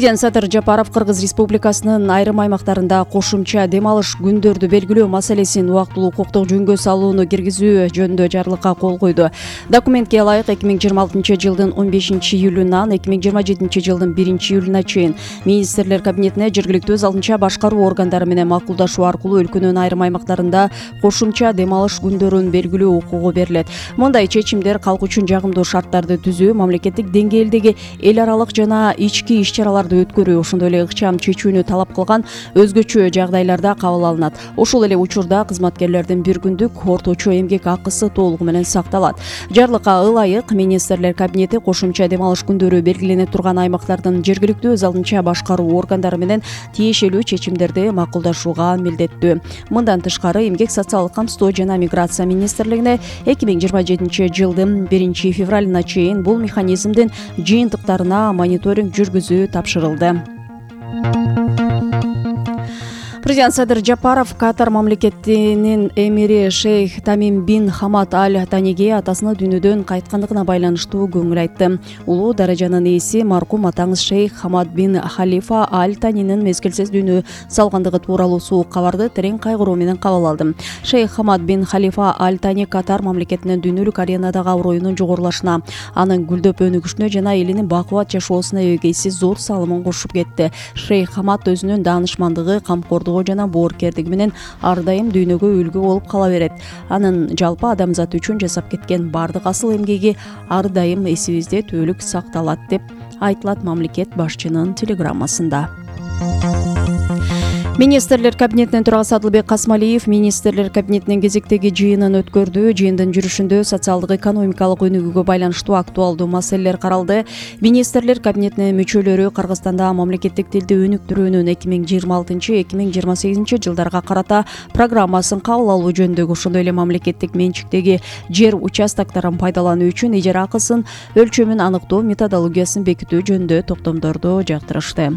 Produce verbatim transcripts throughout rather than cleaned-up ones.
Президент Садыр Жапаров Кыргыз Республикасынын айрым аймактарында кошумча дем алыш күндөрдү белгилөө маселесин убактылуу укуктук жөнгө салууну киргизүү жөнүндө жарлыкка кол койду. Документке ылайык эки миң жыйырма алтынчы жылдын он бешинчи июлунан эки миң жыйырма жетинчи жылдын биринчи июлуна чейин министрлер кабинетине жергиликтүү өз алдынча башкаруу органдары менен макулдашуу аркылуу өлкөнүн айрым аймактарында кошумча дем алыш күндөрүн белгилөө укугу берилет. Мындай чечимдер калк үчүн жагымдуу шарттарды түзүү, мамлекеттик деңгээлдеги эл аралык жана ички иш-чаралар өткөрүү, ошондой эле ыкчам чечүүнү талап кылган өзгөчө жагдайларда кабыл алынат. Ошол эле учурда кызматкерлердин бир күндүк орточо эмгек акысы толугу менен сакталат. Жарлыкка ылайык министрлер кабинети кошумча дем алыш күндөрү белгилене турган аймактардын жергиликтүү өз алдынча башкаруу органдары менен тиешелүү чечимдерди макулдашууга милдеттүү. Мындан тышкары эмгек социалдык камсыздоо жана миграция министрлигине эки миң жыйырма жетинчи жылдын биринчи февралына чейин бул механизмдин жыйынтыктарына мониторинг жүргүзүү тапшырылды. Президент Садыр Жапаров Катар мамлекетинин эмири шейх Тамим бин Хамад аль-Таниге атасына дүйнөдөн кайткандыгына байланыштуу көңүл айтты. Улуу даражанын ээси маркум атаңыз шейх Хамад бин Халифа аль-Танинин мезгилсиз дүйнө салгандыгы тууралуу суук кабарды терең кайгыруу менен кабыл алды. Шейх Хамад бин Халифа аль-Тани Катар мамлекетинин дүйнөлүк аренадагы аброюнун жогорулашына, анын гүлдөп өнүгүшүнө жана элинин бакубат жашоосуна эгейсиз зор салымын кошуп кетти. Шейх Хамад өзүнүн даанышмандыгы, камкордугу жана боорукердиги менен ар дайым дүйнөгө үлгү болуп кала берет. Анын жалпы адамзат үчүн жасап кеткен бардык асыл эмгеги ар дайым эсибизде түбөлүк сакталат деп айтылат мамлекет башчынын телеграммасында. Министрлер кабинетинин төрагасы Адылбек Касмалиев министрлер кабинетинин кезектеги жыйынын өткөрдү. Жыйындын жүрүшүндө социалдык экономикалык өнүгүүгө байланыштуу актуалдуу маселелер каралды. Министрлер кабинетинин мүчөлөрү Кыргызстанда мамлекеттик тилди өнүктүрүүнүн эки миң жыйырма алтынчы эки миң жыйырма сегизинчи жылдарга карата программасын кабыл алуу жөнүндөгү, ошондой эле мамлекеттик менчиктеги жер участокторун пайдалануу үчүн ижара акысын өлчөмүн аныктоо методологиясын бекитүү жөнүндө токтомдорду жактырышты.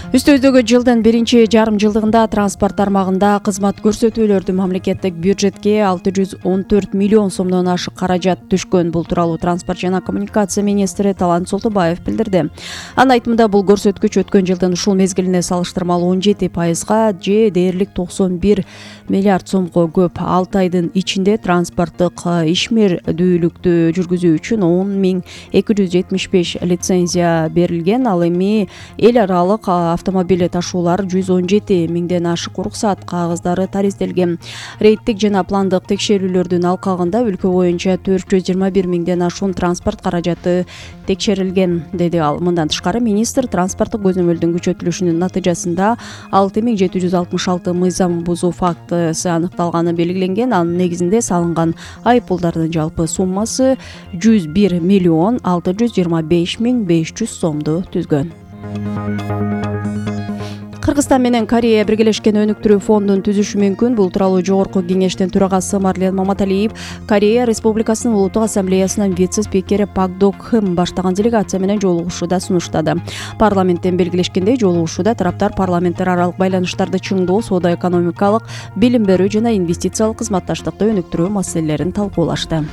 Үстөздөгү жылдын биринчи жарым жылдыгында транспорт тармагында кызмат көрсөтүүлөрдү мамлекеттик бюджетке алты жүз он төрт миллион сомдон ашык каражат түшкөн. Бул тууралуу транспорт жана коммуникация министри Талант Солтубаев билдирди. Анын айтымында бул көрсөткүч өткөн жылдын ушул мезгилине салыштырмалуу он жети пайызга же дээрлик токсон бир миллиард сомго көп. алты айдын ичинде транспорттук ишмердүүлүктү жүргүзүү үчүн он миң эки жүз жетимиш беш лицензия берилген. Ал эми эл аралык автомобиль ташуулар жүз он жети миңден ашык уруксаат кагаздары таризделген. Рейдтик жана пландык текшерүүлөрдүн алкагында өлкө боюнча төрт жүз жыйырма бир миңден ашуун транспорт каражаты текшерилген, деди ал. Мындан тышкары министр транспорттук көзөмөлдүн күчөтүлүшүнүн натыйжасында алты миң жети жүз алтымыш алты мыйзам бузуу фактысы аныкталганы белгиленген. Анын негизинде салынган айыппулдардын жалпы суммасы жүз бир миллион алты жүз жыйырма беш миң беш жүз сомду түзгөн. Кыргызстан менен Корея биргелешкен өнүктүрүү фондун түзүшү мүмкүн. Бул тууралуу Жогорку кеңештин төрагасы Марлен Маматалиев Корея Республикасынын Улуттук ассамблеясынын вице-спикери Пак Док Хым баштаган делегация менен жолугушууда сунуштады. Парламенттен белгилешкендей, жолугушууда тараптар парламенттер аралык байланыштарды чыңдоо, соода-экономикалык, билим берүү жана инвестициялык кызматташтыкты өнүктүрүү маселелерин талкуулашты.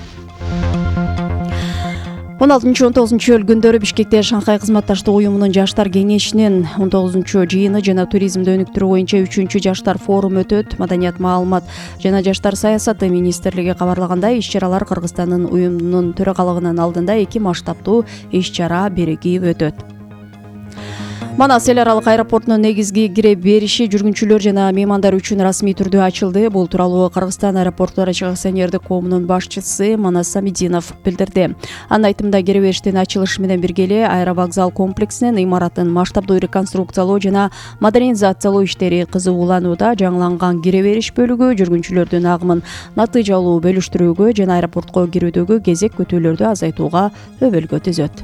он алтынчы он тогузунчу июль күндөрү Бишкекте Шанхай кызматташтык уюмунун жаштар кеңешинин он тогузунчу жыйыны жана туризмди өнүктүрүү боюнча үчүнчү жаштар форуму өтөт. Маданият, маалымат жана жаштар саясаты министрлиги кабарлагандай, иш-чаралар Кыргызстандын уюмдун төрагалыгынын алдында эки масштабтуу иш-чара биригип өтөт. Манас эл аралык аэропортунун негизги кире бериши жүргүнчүлөр жана меймандар үчүн расмий түрдө ачылды. Бул тууралуу Кыргызстан аэропорттор акционердик коомунун башчысы Манас Самидинов билдирди. Анын айтымында, кире бериштин ачылышы менен бирге эле аэровокзал комплексинин имаратын масштабдуу реконструкциялоо жана модернизациялоо иштери кызыгууланууда. Жаңыланган кире бериш бөлүгү жүргүнчүлөрдүн агымын натыйжалуу бөлүштүрүүгө жана аэропортко кирүүдөгү кезек күтүүлөрдү азайтууга өбөлгө түзөт.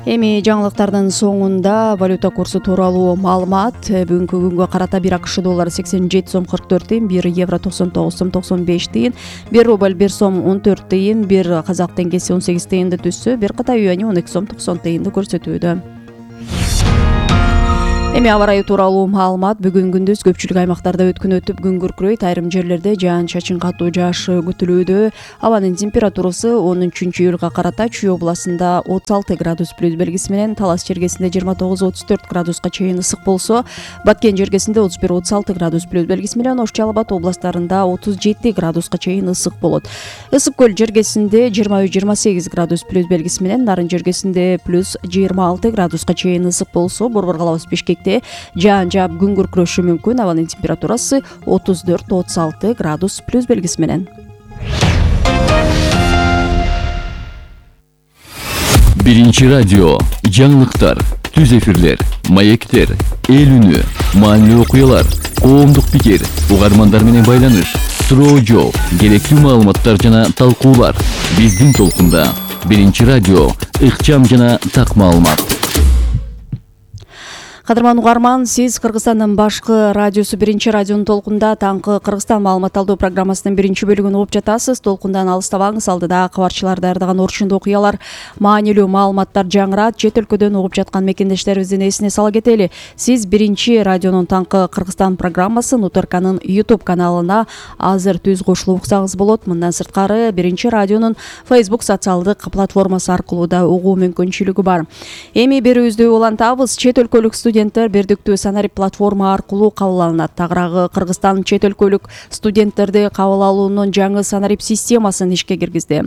Эми жаңылыктардын соңунда валюта курсу тууралуу маалымат. Бүгүнкү күнгө карата бир АКШ доллары сексен жети сом кырк төрт тыйын, бир евро токсон тогуз сом токсон беш тыйын, бир рубль бир сом он төрт тыйын, бир казак теңгеси он сегиз тыйынды түзсө, бир кытай юани он эки сом токсон тыйынды көрсөтүүдө. Эми аба ырайы тууралуу маалымат. Бүгүн күндүз көпчүлүк аймактарда өткөн өтүп күн күркүрөйт. Айрым жерлерде жаан-чачын катуу жаашы күтүлүүдө. Абанын температурасы онунчу июлга карата Чүй областында отуз алты градус плюс белгиси менен, Талас жергесинде жыйырма тогуз отуз төрт градуска чейин ысык болсо, Баткен жергесинде отуз бир отуз алты градус плюс белгиси менен, Ош Жалал Абад областарында отуз жети градуска чейин ысык болот. Ысык көл жергесинде жыйырма үч жыйырма сегиз градус плюс белгиси менен, Нарын жергесинде плюс жыйырма алты градуска чейин ысык болсо, Борбор калабыз Бишкекте жаан жаап күн күркүрөшү мүмкүн. Абанын температурасы отуз төрт отуз алты градус плюс белгиси менен. Биринчи радио, жаңылыктар, түз эфирлер, маектер, эл үнү, маанилүү окуялар, коомдук пикир, угармандар менен байланыш, суроо жооп, керектүү маалыматтар жана талкуулар. Биздин толкунда Биринчи радио, ыкчам жана так маалымат. Кадырман угарман, сиз Кыргызстандын башкы радиосу Биринчи радионун толкунда таңкы Кыргызстан маалымат алуу программасынын биринчи бөлүгүн угуп жатасыз. Толкундан алыстабаңыз, алдыда кабарчылар даярдаган орчундуу окуялар, маанилүү маалыматтар жаңырат. Чет өлкөдөн угуп жаткан мекендештерибиздин эсине сала кетели. Сиз Биринчи радионун таңкы Кыргызстан программасын УТРКнын YouTube каналына азыр түз кошулуп уксаңыз болот. Мындан сырткары Биринчи радионун Facebook социалдык платформасы аркылуу да угуу мүмкүнчүлүгү бар. Эми берүүбүздү улантабыз. Чет өлкөлүк студенттер бирдиктүү санарип платформа аркылуу кабыл алынат. Тагыраагы Кыргызстан чет өлкөлүк студенттерди кабыл алуунун жаңы санарип системасын ишке киргизди.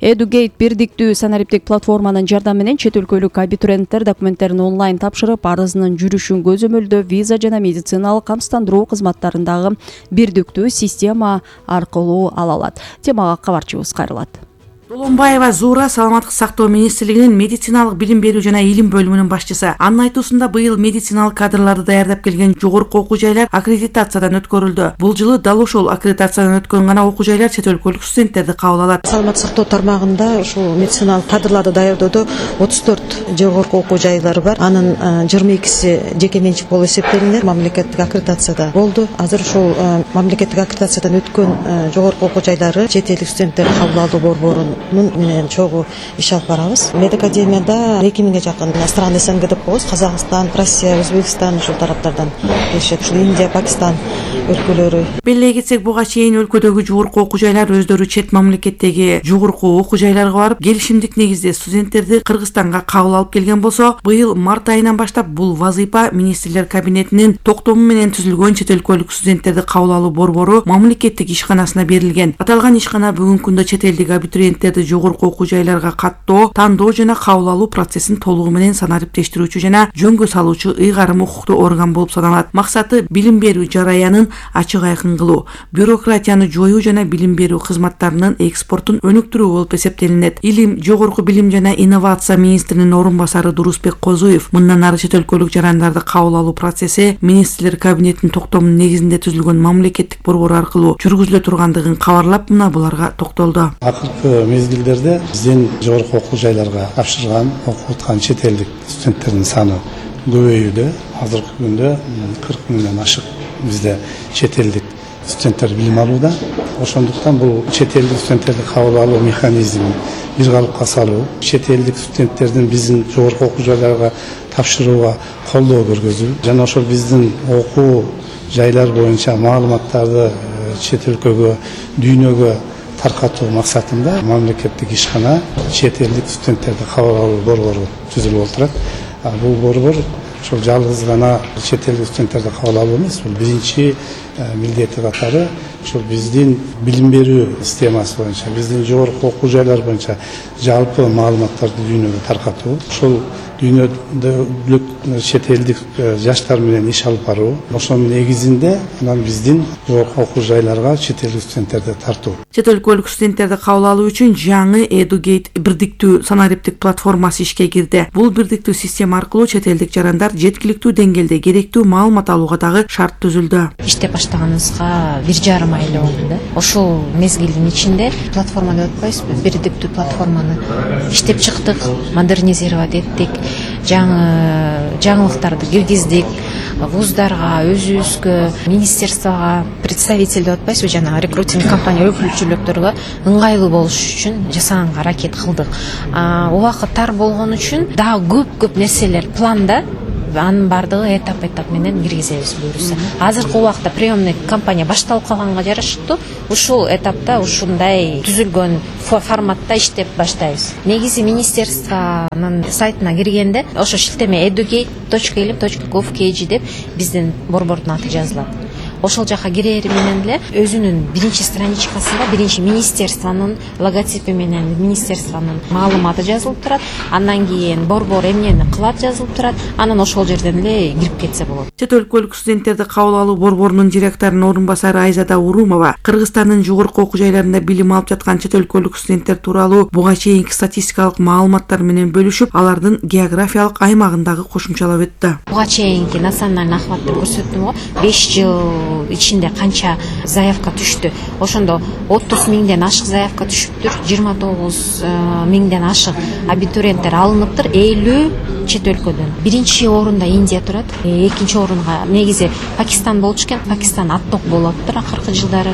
Educate бирдиктүү санариптик платформанын жардамы менен чет өлкөлүк абитуриенттер документтерин онлайн тапшырып, арызынын жүрүшүн көзөмөлдөө, виза жана медициналык камсыздандыруу кызматтарындагы бирдиктүү система аркылуу ала алат. Темага кабарчыбыз кайрылат. Долонбаева Зуура саламаттык сактоо министрлигинин медициналык билим берүү жана илим бөлүмүнүн башчысы. Анын айтуусунда быйыл медициналык кадрларды даярдап келген жогорку окуу жайлар аккредитациядан өткөрүлдү. Бул жылы дал ошол аккредитациядан өткөн гана окуу жайлар чет өлкөлүк студенттерди кабыл алат. Саламаттык сактоо тармагында ушул медициналык кадрларды даярдоодо отуз төрт жогорку окуу жайлары бар. Анын жыйырма экиси жеке менчик болуп эсептелинет. Мамлекеттик аккредитацияда болду. Азыр ушул мамлекеттик аккредитациядан өткөн жогорку окуу жайлары чет элдик студенттерди кабыл алуу борборунун менен чогуу иш алып барабыз. Медакадемияда эки миңге жакын стран СНГ деп коебуз. Казакстан, Россия, Өзбекстан ушул тараптардан келишет. Ушул Индия, Пакистан өлкөлөрү. Белгилей кетсек, буга чейин өлкөдөгү жогорку окуу жайлар өздөрү чет мамлекеттеги жогорку окуу жайларга барып, келишимдик негизде студенттерди Кыргызстанга кабыл алып келген болсо, быйыл март айынан баштап бул вазыйфа министрлер кабинетинин токтому менен түзүлгөн чет өлкөлүк студенттерди кабыл алуу борбору мамлекеттик ишканасына берилген. Аталган ишкана бүгүнкү күндө чет элдик абитуриенттерди жогорку окуу жайларга каттоо, тандоо жана кабыл алуу процессин толугу менен санариптештирүүчү жана жөнгө салуучу ыйгарым укуктуу орган болуп саналат. Максаты билим берүү жараянын ачык айкын кылуу, бюрократияны жоюу жана билим берүү кызматтарынын экспортун өнүктүрүү болуп эсептелинет. Илим, жогорку билим жана инновация министринин орун басары Дурусбек Козуев мындан ары чет өлкөлүк жарандарды кабыл алуу процесси министрлер кабинетинин токтомунун негизинде түзүлгөн мамлекеттик борбор аркылуу жүргүзүлө тургандыгын кабарлап, мына буларга токтолду. Акыркы мезгилдерде биздин жогорку окуу жайларга тапшырган, окуп аткан чет элдик студенттердин саны көбөйүүдө. Азыркы күндө кырк миңден ашык бизде чет элдик студенттер билим алууда. Ошондуктан бул чет элдик студенттерди кабыл алуу механизмин бир калыпка салуу, чет элдик студенттердин биздин жогорку окуу жайларга тапшырууга колдоо көргөзүү жана ошол биздин окуу жайлар боюнча маалыматтарды чет өлкөгө, дүйнөгө таркатуу максатында мамлекеттик ишкана чет элдик студенттерди кабыл алуу борбору түзүлүп отурат. Бул борбор ошол жалгыз гана чет элдик студенттерди кабыл алуу эмес, бул биринчи милдети катары ошол биздин билим берүү системасы боюнча, биздин жогорку окуу жайлар боюнча жалпы маалыматтарды дүйнөгө таркатуу, ошол дүйнөдө чет элдик жаштар менен иш алып баруу, ошонун негизинде анан биздин жогорку окуу жайларга чет элдик студенттерди тартуу. Чет өлкөлүк студенттерди кабыл алуу үчүн жаңы Educate бирдиктүү санариптик платформасы ишке кирди. Бул бирдиктүү система аркылуу чет элдик жарандар жеткиликтүү деңгээлде керектүү маалымат алууга дагы шарт түзүлдү. Иштеп баштаганыбызга бир жарым ай эле болду да. Ошол мезгилдин ичинде платформа деп атпайсызбы? Бирдиктүү платформаны иштеп чыктык, модернизировать эттик, жаңы жаңылыктарды киргиздик. Вуздарга, өзүбүзгө, министерствого представитель деп атпайсызбы, жана рекрутинг компания өкүлчүлүктөргө ыңгайлуу болуш үчүн жасаганга аракет кылдык. Убакыт тар болгон үчүн дагы көп-көп нерселер планда анын баардыгы этап этап менен киргизебиз буюрса. Азыркы убакта приемный кампания башталып калганга жараштуу ушул этапта ушундай түзүлгөн форматта иштеп баштайбыз. Негизи министерствонун сайтына киргенде ошо шилтеме educate точка илим точка gov точка kg деп биздин борбордун аты жазылат. Ошол жака кирери менен эле өзүнүн биринчи страничкасында биринчи министерствонун логотипи менен министерствонун маалыматы жазылып турат. Андан кийин борбор эмнени кылат жазылып турат. Анан ошол жерден эле кирип кетсе болот. Чет өлкөлүк студенттерди кабыл алуу борборунун директорунун орун басары Айзада Урумова Кыргызстандын жогорку окуу жайларында билим алып жаткан чет өлкөлүк студенттер тууралуу буга чейинки статистикалык маалыматтар менен бөлүшүп, алардын географиялык аймагындагы кошумчалап өттү. Буга чейинки национальный охват деп көрсөттүм го. беш жыл ичинде канча заявка түштү. Ошондо отуз миңден ашык заявка түшүптүр. жыйырма тогуз миңден ашык абитуриенттер алыныптыр. элүү чет өлкөдөн. Биринчи орунда Индия турат. Экинчи орунга негизи Пакистан болчу экен. Пакистан атток болуптур акыркы жылдары.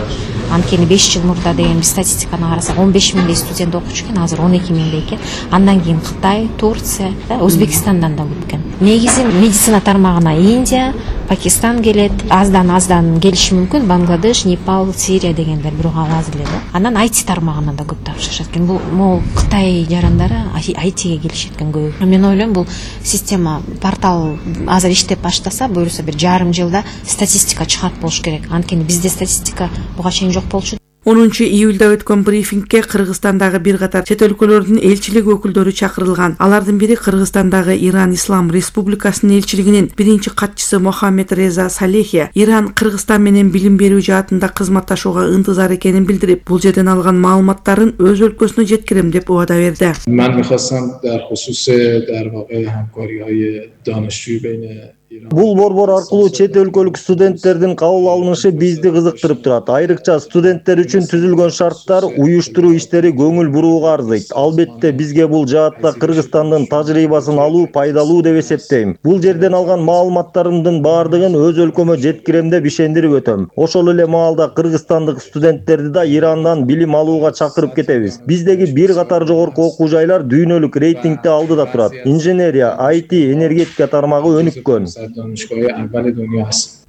Анткени беш жыл мурда деген биз статистиканы карасак он беш миңдей студент окучу экен, азыр он эки миңдей экен. Андан кийин Кытай, Турция, Өзбекстандан да көп экен. Негизи медицина тармагына Индия, Пакистан келет, аздан аздан келиши мүмкүн Бангладеш, Непал, Сирия дегендер бирок аз эле да. Анан ай ти тармагынан да көп тапшырышат экен. Бул могул Кытай жарандары ай тиге келишет экен көбү. Мен ойлойм бул система портал азыр иштеп баштаса, буюрса бир жарым жылда статистика чыгарып болуш керек. Анткени бизде статистика буга чейин жок болчу. онунчу июлда өткөн брифингке Кыргызстандагы бир катар чет өлкөлөрдүн элчилик өкүлдөрү чакырылган. Алардын бири Кыргызстандагы Иран Ислам Республикасынын элчилигинин биринчи катчысы Мохаммед Реза Салехи Иран Кыргызстан менен билим берүү жаатында кызматташууга ынтызар экенин билдирип, бул жерден алган маалыматтарын өз өлкөсүнө жеткирем деп убада берди. Мен михвастам дар хусус дар вақеъ ҳамкориҳои донишҷӯ байни Бул борбор аркылуу чет өлкөлүк студенттердин кабыл алынышы бизди кызыктырып турат. Айрыкча студенттер үчүн түзүлгөн шарттар, уюштуруу иштери көңүл бурууга арзыйт. Албетте бизге бул жаатта Кыргызстандын тажрыйбасын алуу пайдалуу деп эсептейм. Бул жерден алган маалыматтарымдын баардыгын өз өлкөмө жеткирем деп ишендирип өтөм. Ошол эле маалда кыргызстандык студенттерди да Ирандан билим алууга чакырып кетебиз. Биздеги бир катар жогорку окуу жайлар дүйнөлүк рейтингде алдыда турат. Инженерия, ай ти, энергетика тармагы өнүккөн.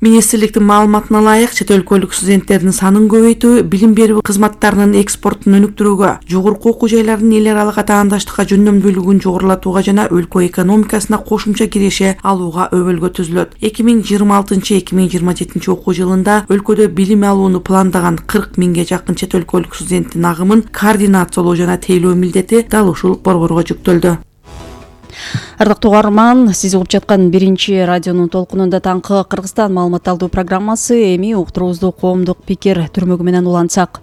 Министрликтин маалыматына ылайык, чет өлкөлүк студенттердин санын көбөйтүү, билим берүү кызматтарынын экспортун өнүктүрүүгө, жогорку окуу жайлардын эл аралык атаандаштыкка жөндөмдүүлүгүн жогорулатууга жана өлкө экономикасына кошумча киреше алууга өбөлгө түзүлөт. эки миң жыйырма алтынчы эки миң жыйырма жетинчи окуу жылында өлкөдө билим алууну пландаган кырк миңге жакын чет өлкөлүк студенттин агымын координациялоо жана тейлөө милдети дал ушул борборго жүктөлдү. Ардактуу угарман, сиз угуп жаткан биринчи радионун толкунунда таңкы Кыргызстан маалымат алуу программасы. Эми уктуруубузду коомдук пикир түрмөгү менен улантсак.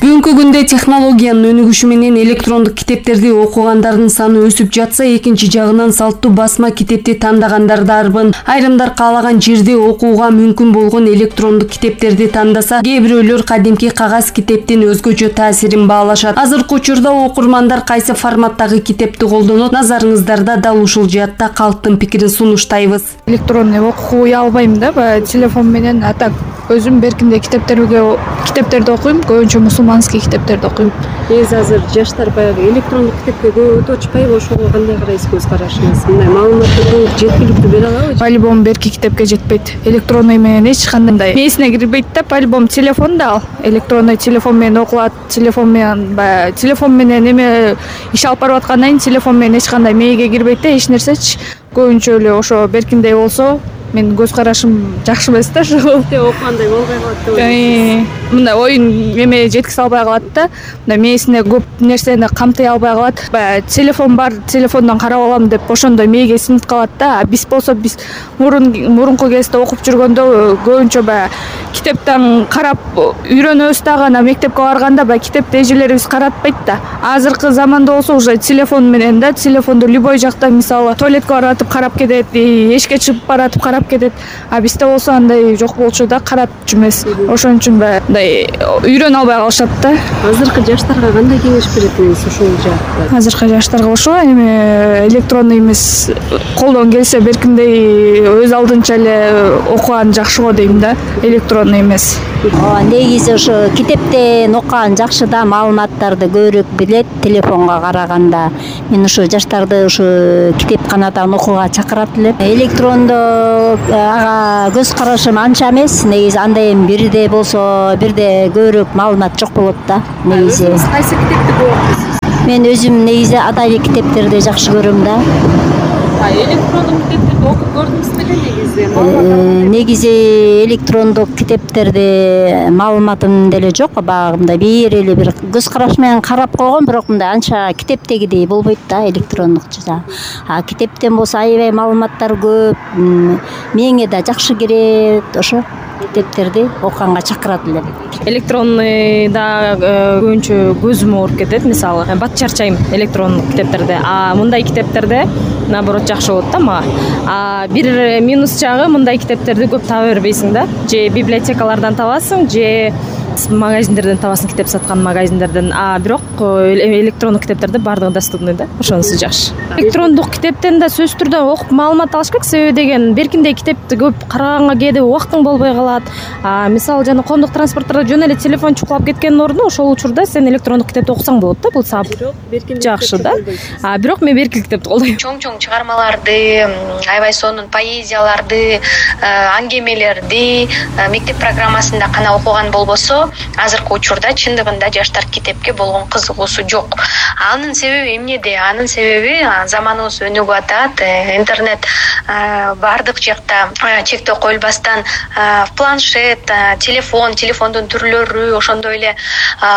Бүгүнкү күндө технологиянын өнүгүшү менен электрондук китептерди окугандардын саны өсүп жатса, экинчи жагынан салттуу басма китепти тандагандарды арбын. Айрымдар каалаган жерде окууга мүмкүн болгон электрондук китептерди тандаса, кээ бирөөлөр кадимки кагаз китептин өзгөчө таасирин баалашат. Азыркы учурда окурмандар кайсы форматтагы китепти колдонот? Назарыңыздарда дал ушул жаатта калктын пикирин сунуштайбыз. Электронный окуй албайм да, баягы телефон менен, а так өзүм беркинде китептерге китептерди окуйм, көбүнчө мусулманский китептерди окуйм. Эми азыр жаштар баягы электрондук китепке көп өтүп атышпайбы? Ошого кандай карайсыз, көз карашыңыз? Мындай маалыматтарды жеткиликтүү бере алабы? По-любому берки китепке жетпейт. Электронный менен эч кандай мээсине кирбейт да, по-любому телефон да ал. Электронный телефон менен окулат, телефон менен баягы телефон менен эме иш алып барып аткандан кийин телефон менен эч кандай мээге кирбейт да, эч нерсечи. Көбүнчө эле ошо беркиндей болсо, мен көз карашым жакшы эмес да, ошо. Окугандай болбой калат да. Мындай оюн эме жеткизе албай калат да. Мындай мээсине көп нерсени камтый албай калат. Баягы телефон бар, телефондон карап алам деп ошондой мээге сиңип калат да. А биз болсо биз мурун мурунку кезде окуп жүргөндө көбүнчө баягы китептен карап үйрөнөбүз дагы, ана мектепке барганда баягы китепти эжелерибиз каратпайт да. Азыркы заманда болсо уже телефон менен да, телефонду любой жакта, мисалы туалетке баратып карап кетет, эшикке чыгып баратып карап кетет. А бизде болсо андай жок болчу да, каратчу эмес. Ошон үчүн баягы үйрөнө албай калышат да. Азыркы жаштарга кандай кеңеш бересиз ушул жаатта? Азыркы жаштарга ошо эми электронный эмес колдон келсе беркиндей өз алдынча эле окуган жакшы го дейм да, электронный эмес. Ооба, негизи ошо китептен окуган жакшы да, маалыматтарды көбүрөөк билет телефонго караганда. Мен ошо жаштарды ошо китепканадан окууга чакырат элем. Электрондо ага көз карашым анча эмес. Негизи анда эми бирде болсо, бирде көбүрөөк маалымат жок болот да. Негизи кайсы китепти көп окуйсуз? Мен өзүм негизи адабий китептерди жакшы көрөм да. Электрондук китептерди окуп көрдүңүз беле негизи? Негизи электрондук китептерди маалыматым деле жок. Багымда бир эле бир көз караш менен карап койгом, бирок мындай анча китептегидей болбойт да электрондукча. А китептен болсо аябай маалыматтар көп. Меңе да жакшы кирет. Ошо китептерди окуганга чакырат элем. Электронный да көбүнчө көзүм ооруп кетет. Мисалы, бат чарчайм электрондук китептерде. А мындай китептерде наоборот жакшы болот да мага. А бир минус жагы, мындай китептерди көп таба бербейсиң да. Же библиотекалардан табасың, же магазиндерден табасың, китеп саткан магазиндерден. А бирок электрондук китептерде бардыгы доступный да. Ошонусу жакшы. Электрондук китептен да сөзсүз түрдө окуп маалымат алыш керек. Себеби деген беркиндей китепти көп караганга кээде убактың болбой калат. А мисалы жана коомдук транспорттордо жөн эле телефон чукулап кеткендин ордуна ошол учурда сен электрондук китепти окусаң болот да. Бул сабыр жакшы да. А бирок мен беркил китепти колдойм. Чоң-чоң чыгармаларды, аябай сонун поэзияларды, аңгемелерди мектеп программасында гана окуган болбосо, азыркы учурда чындыгында жаштар китепке болгон кызыгуусу жок. Анын себеби эмнеде? Анын себеби заманыбыз өнүгүп атат. Интернет бардык жакта чектөө коюлбастан планшет, телефон, телефондун түрлөрү, ошондой эле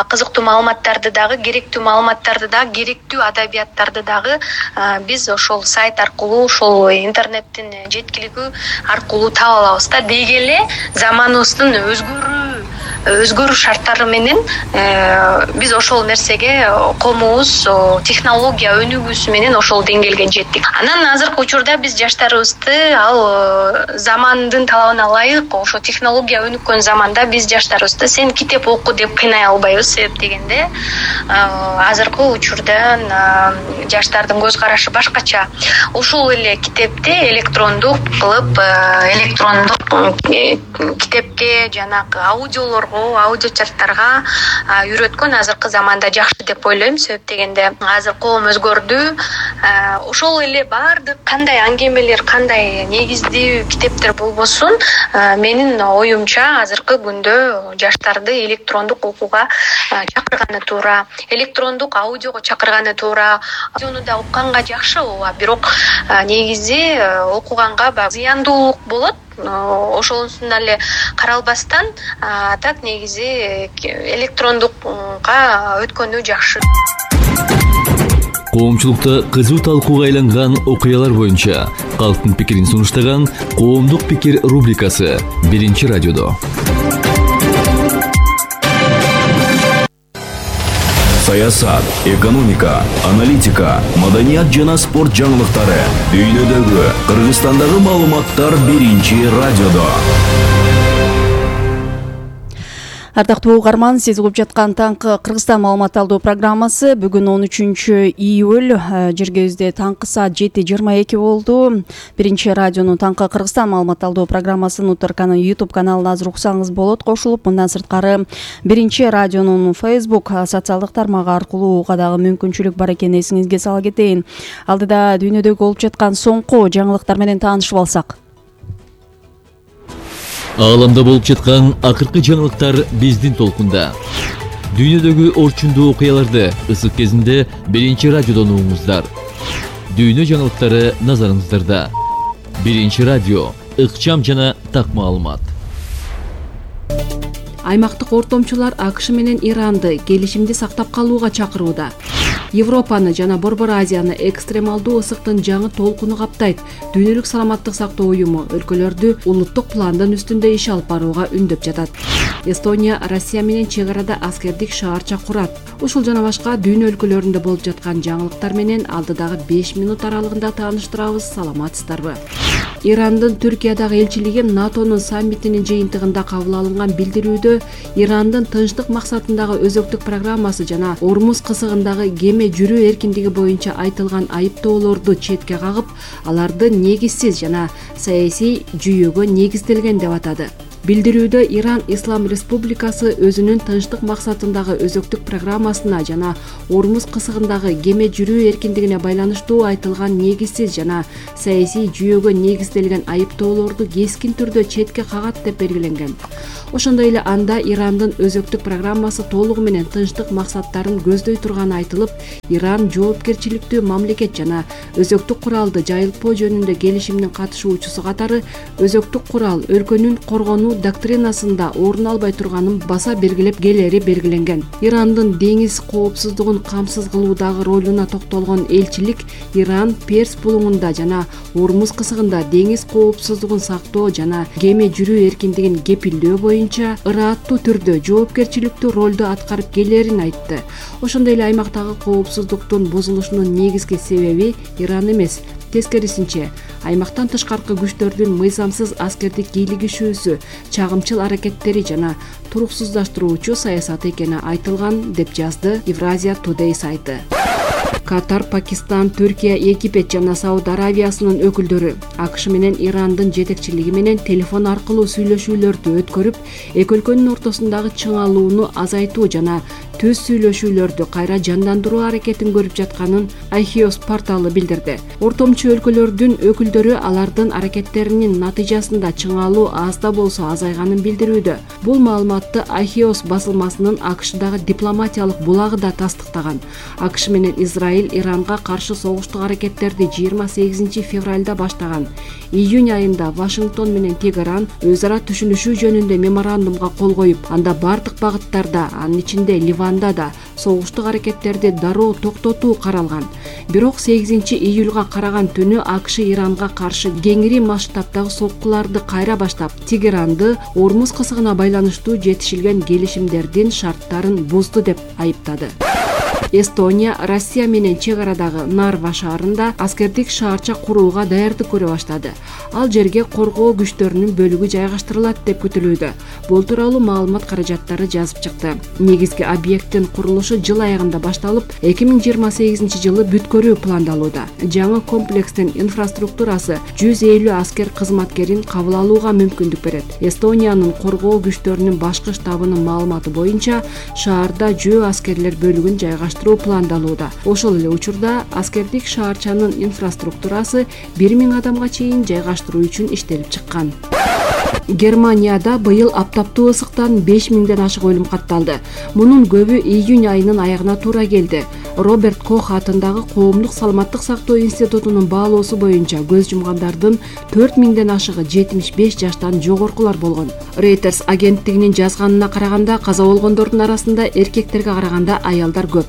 кызыктуу маалыматтарды дагы, керектүү маалыматтарды дагы, керектүү адабияттарды дагы биз ошол сайт аркылуу, ошол интернеттин жеткилиги аркылуу таба алабыз да. Деги эле заманыбыздын өзгөрүү өзгөрүү шарттары менен биз ошол нерсеге коомубуз технология өнүгүүсү менен ошол деңгээлге жеттик. Анан азыркы учурда биз жаштарыбызды ал замандын талабына ылайык ошо технология өнүккөн заманда биз жаштарыбызды сен китеп оку деп кыйнай албайбыз. Себеп дегенде азыркы учурда жаштардын көз карашы башкача. Ошол эле китепти электрондук кылып, электрондук китепке жанагы аудиолорго, аудио чаттарга үйрөткөн азыркы заманда жакшы деп ойлойм. Себеп дегенде азыр коом өзгөрдү. Ошол эле бардык кандай аңгемелер, кандай негиздүү китептер болбосун, менин оюмча азыркы күндө жаштарды электрондук окууга чакырганы туура, электрондук аудиого чакырганы туура. Аудиону да укканга жакшы, ооба, бирок негизи окуганга зыяндуулук болот. Ошонусун эле каралбастан, так негизи электрондукка өткөнү жакшы. Коомчулукта кызуу талкууга айланган окуялар боюнча калктын пикирин сунуштаган Коомдук пикир рубрикасы биринчи радиодо. Саясат, экономика, аналитика, маданият жана спорт жаңылыктары, дүйнөдөгү, Кыргызстандагы маалыматтар биринчи радиодо. Ардактуу угарман, сиз угуп жаткан таңкы Кыргызстан маалымат алуу программасы бүгүн он үчүнчү июль, жергебизде таңкы саат жети жыйырма эки болду. Биринчи радионун таңкы Кыргызстан маалымат алуу программасын Утарканын YouTube каналына азыр уксаңыз болот. Кошулуп, мындан сырткары Биринчи радионун Facebook социалдык тармагы аркылуу угууга дагы мүмкүнчүлүк бар экенин эсиңизге сала кетейин. Алдыда дүйнөдөгү болуп жаткан соңку жаңылыктар менен таанышып алсак. Ааламда болуп жаткан акыркы жаңылыктар биздин толкунда. Дүйнөдөгү орчундуу окуяларды ысык кезинде биринчи радиодон угуңуздар. Дүйнө жаңылыктары назарыңыздарда. Биринчи радио, ыкчам жана так маалымат. Аймактык ортомчулар АКШ менен Иранды келишимди сактап калууга чакырууда. Европаны жана Борбор Азияны экстремалдуу ысыктын жаңы толкуну каптайт. Дүйнөлүк саламаттык сактоо уюму өлкөлөрдү улуттук пландын үстүндө иш алып барууга үндөп жатат. Эстония Россия менен чек арада аскердик шаарча курат. Ушул жана башка дүйнө өлкөлөрүндө болуп жаткан жаңылыктар менен алдыдагы беш минут аралыгында тааныштырабыз. Саламатсыздарбы? Ирандын Түркиядагы элчилиги НАТОнун саммитинин жыйынтыгында кабыл алынган билдирүүдө Ирандын тынчтык максатындагы өзөктүк программасы жана Ормуз кысыгындагы кеме жүрүү эркиндиги боюнча айтылган айыптоолорду четке кагып, аларды негизсиз жана саясий жүйөгө негизделген деп атады. Билдирүүдө Иран Ислам Республикасы өзүнүн тынчтык максатындагы өзөктүк программасына жана Ормуз кысыгындагы кеме жүрүү эркиндигине байланыштуу айтылган негизсиз жана саясий жүйөгө негизделген айыптоолорду кескин түрдө четке кагат деп белгиленген. Ошондой эле анда Ирандын өзөктүк программасы толугу менен тынчтык максаттарын көздөй турганы айтылып, Иран жоопкерчиликтүү мамлекет жана өзөктүк куралды жайылтпоо жөнүндө келишимдин катышуучусу катары өзөктүк курал өлкөнүн коргонуу доктринасында орун албай турганын баса белгилеп келери белгиленген. Ирандын деңиз коопсуздугун камсыз кылуудагы ролуна токтолгон элчилик Иран Перс булуңунда жана Ормуз кысыгында деңиз коопсуздугун сактоо жана кеме жүрүү эркиндигин кепилдөө боюнча ырааттуу түрдө жоопкерчиликтүү ролду аткарып келерин айтты. Ошондой эле аймактагы коопсуздуктун бузулушунун негизги себеби Иран эмес, тескерисинче аймактан тышкаркы күчтөрдүн мыйзамсыз аскердик кийлигишүүсү, чагымчыл аракеттери жана туруксуздаштыруучу саясаты экени айтылган, деп жазды Евразия Today сайты. Катар, Пакистан, Түркия, Египет жана Сауд Аравиясынын өкүлдөрү АКШ менен Ирандын жетекчилиги менен телефон аркылуу сүйлөшүүлөрдү өткөрүп, эки өлкөнүн ортосундагы чыңалууну азайтуу жана түз сүйлөшүүлөрдү кайра жандандыруу аракетин көрүп жатканын Axios порталы билдирди. Ортомчу өлкөлөрдүн өкүлдөрү алардын аракеттеринин натыйжасында чыңалуу аз да болсо азайганын билдирүүдө. Бул маалыматты Axios басылмасынын АКШдагы дипломатиялык булагы да тастыктаган. АКШ менен Израиль Иранга каршы согуштук аракеттерди жыйырма сегизинчи февралда баштаган. Июнь айында Вашингтон менен Тегеран өз ара түшүнүшүү жөнүндө меморандумга кол коюп, анда бардык багыттарда, анын ичинде Ливанда да согуштук аракеттерди дароо токтотуу каралган. Бирок сегизинчи июлга караган түнү АКШ Иранга каршы кеңири масштабдагы соккуларды кайра баштап, Тегеранды Ормуз кысыгына байланыштуу жетишилген келишимдердин шарттарын бузду деп айыптады. Эстония Россия менен чек арадагы Нарва шаарында аскердик шаарча курууга даярдык көрө баштады. Ал жерге коргоо күчтөрүнүн бөлүгү жайгаштырылат деп күтүлүүдө. Бул тууралуу маалымат каражаттары жазып чыкты. Негизги объекттин курулушу жыл аягында башталып, эки миң жыйырма сегизинчи жылы бүткөрүү пландалууда. Жаңы комплекстин инфраструктурасы жүз элүү аскер кызматкерин кабыл алууга мүмкүндүк берет. Эстониянын коргоо күчтөрүнүн башкы штабынын маалыматы боюнча, шаарда жөө аскерлер бөлүгүн жайгаштыруу пландалууда. Ошол эле учурда аскердик шаарчанын инфраструктурасы бир миң адамга чейин жайгаштыруу үчүн иштелип чыккан. Германияда быйыл аптаптуу ысыктан беш миңден ашык өлүм катталды. Мунун көбү июнь айынын аягына туура келди. Роберт Кох атындагы Коомдук саламаттык сактоо институтунун баалоосу боюнча көз жумгандардын төрт миңден ашыгы жетимиш беш жаштан жогоркулар болгон. Reuters агенттигинин жазганына караганда, каза болгондордун арасында эркектерге караганда аялдар көп.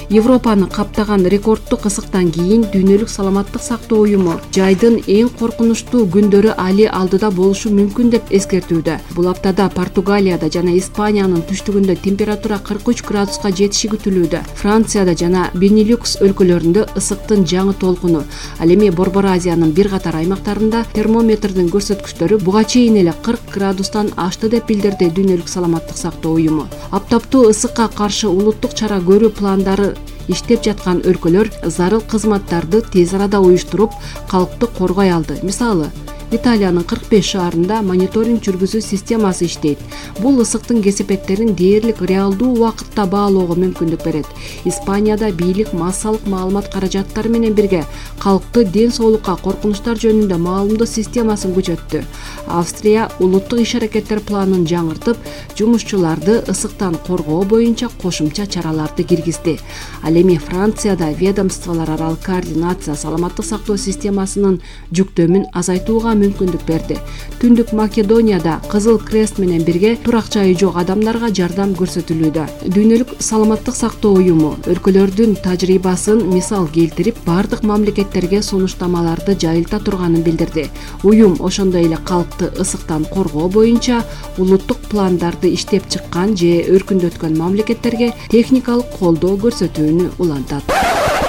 Европаны каптаган рекордтук ысыктан кийин Дүйнөлүк саламаттык сактоо уюму жайдын эң коркунучтуу күндөрү али алдыда болушу мүмкүн деп эскертүүдө. Бул аптада Португалияда жана Испаниянын түштүгүндө температура кырк үч градуска жетиши күтүлүүдө. Францияда жана Бенилюкс өлкөлөрүндө ысыктын жаңы толкуну. Ал эми Борбор Азиянын бир катар аймактарында термометрдин көрсөткүчтөрү буга чейин эле кырк градустан ашты деп билдирди Дүйнөлүк саламаттык сактоо уюму. Аптаптуу ысыкка каршы улуттук чара көрүү пландары иштеп жаткан өлкөлөр зарыл кызматтарды тез арада уюштуруп, калкты коргой алды. Мисалы, Италиянын кырк беш шаарында мониторинг жүргүзүү системасы иштейт. Бул ысыктын кесепеттерин дээрлик реалдуу убакытта баалоого мүмкүндүк берет. Испанияда бийлик массалык маалымат каражаттары менен бирге калкты ден соолукка коркунучтар жөнүндө маалымдоо системасын күчөттү. Австрия улуттук иш-аракеттер планын жаңыртып, жумушчуларды ысыктан коргоо боюнча кошумча чараларды киргизди. Ал эми Францияда ведомстволор аралык координация саламаттык сактоо системасынын жүктөмүн азайтууга мүмкүндүк берди. Түндүк Македонияда Кызыл Крест менен бирге турак жайы жок адамдарга жардам көрсөтүлүүдө. Дүйнөлүк саламаттык сактоо уюму өлкөлөрдүн тажрыйбасын мисал келтирип, бардык мамлекеттерге сунуштамаларды жайылта турганын билдирди. Уюм ошондой эле калкты ысыктан коргоо боюнча улуттук пландарды иштеп чыккан же өркүндөткөн мамлекеттерге техникалык колдоо көрсөтүүнү улантат.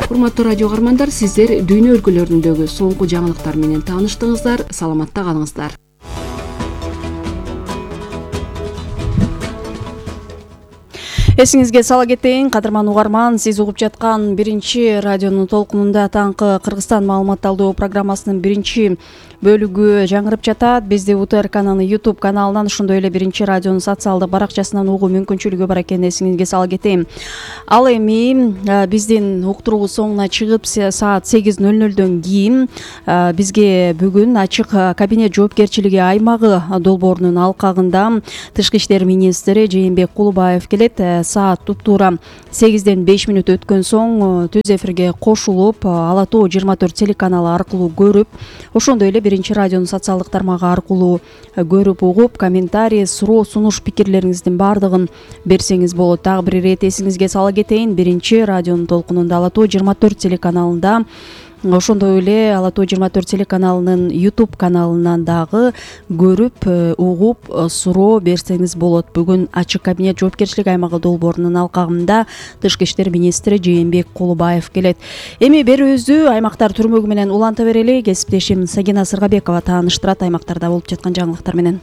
Урматтуу радио каармандар, сиздер дүйнө өлкөлөрүндөгү соңку жаңылыктар менен тааныштыңыздар. Саламатта калыңыздар. Эсиңизге сала кетейин, кадырман угарман, сиз угуп жаткан биринчи радионун толкунунда таңкы Кыргызстан маалымат алуу программасынын биринчи бөлүгү жаңырып жатат. Бизди УТРКнын YouTube каналынан, ошондой эле биринчи радионун социалдык баракчасынан угуу мүмкүнчүлүгү бар экенин эсиңизге сала кетейин. Ал эми биздин уктуруубуз соңуна чыгып, саат сегиз ноль нолдон кийин бизге бүгүн ачык кабинет жоопкерчилиги аймагы долбоорунун алкагында тышкы иштер министри Жээнбек Кулубаев келет. Саат туптуура сегизден беш мүнөт өткөн соң түз эфирге кошулуп, Ала Тоо жыйырма төрт телеканалы аркылуу көрүп, ошондой эле биринчи радионун социалдык тармагы аркылуу көрүп, угуп, комментарий, суроо, сунуш, пикирлериңиздин баардыгын берсеңиз болот. Дагы бир ирет эсиңизге сала кетейин, биринчи радионун толкунунда Ала Тоо жыйырма төрт телеканалында, ошондой эле Ала Тоо жыйырма төрт телеканалынын YouTube каналынан дагы көрүп, угуп, суроо берсеңиз болот. Бүгүн ачык кабинет жоопкерчилиги аймагы долбоорунун алкагында тышкы иштер министри Жээнбек Кулубаев келет. Эми берүүбүздү аймактар түрмөгү менен уланта берели. Кесиптешим Сагина Сыргабекова тааныштырат аймактарда болуп жаткан жаңылыктар менен.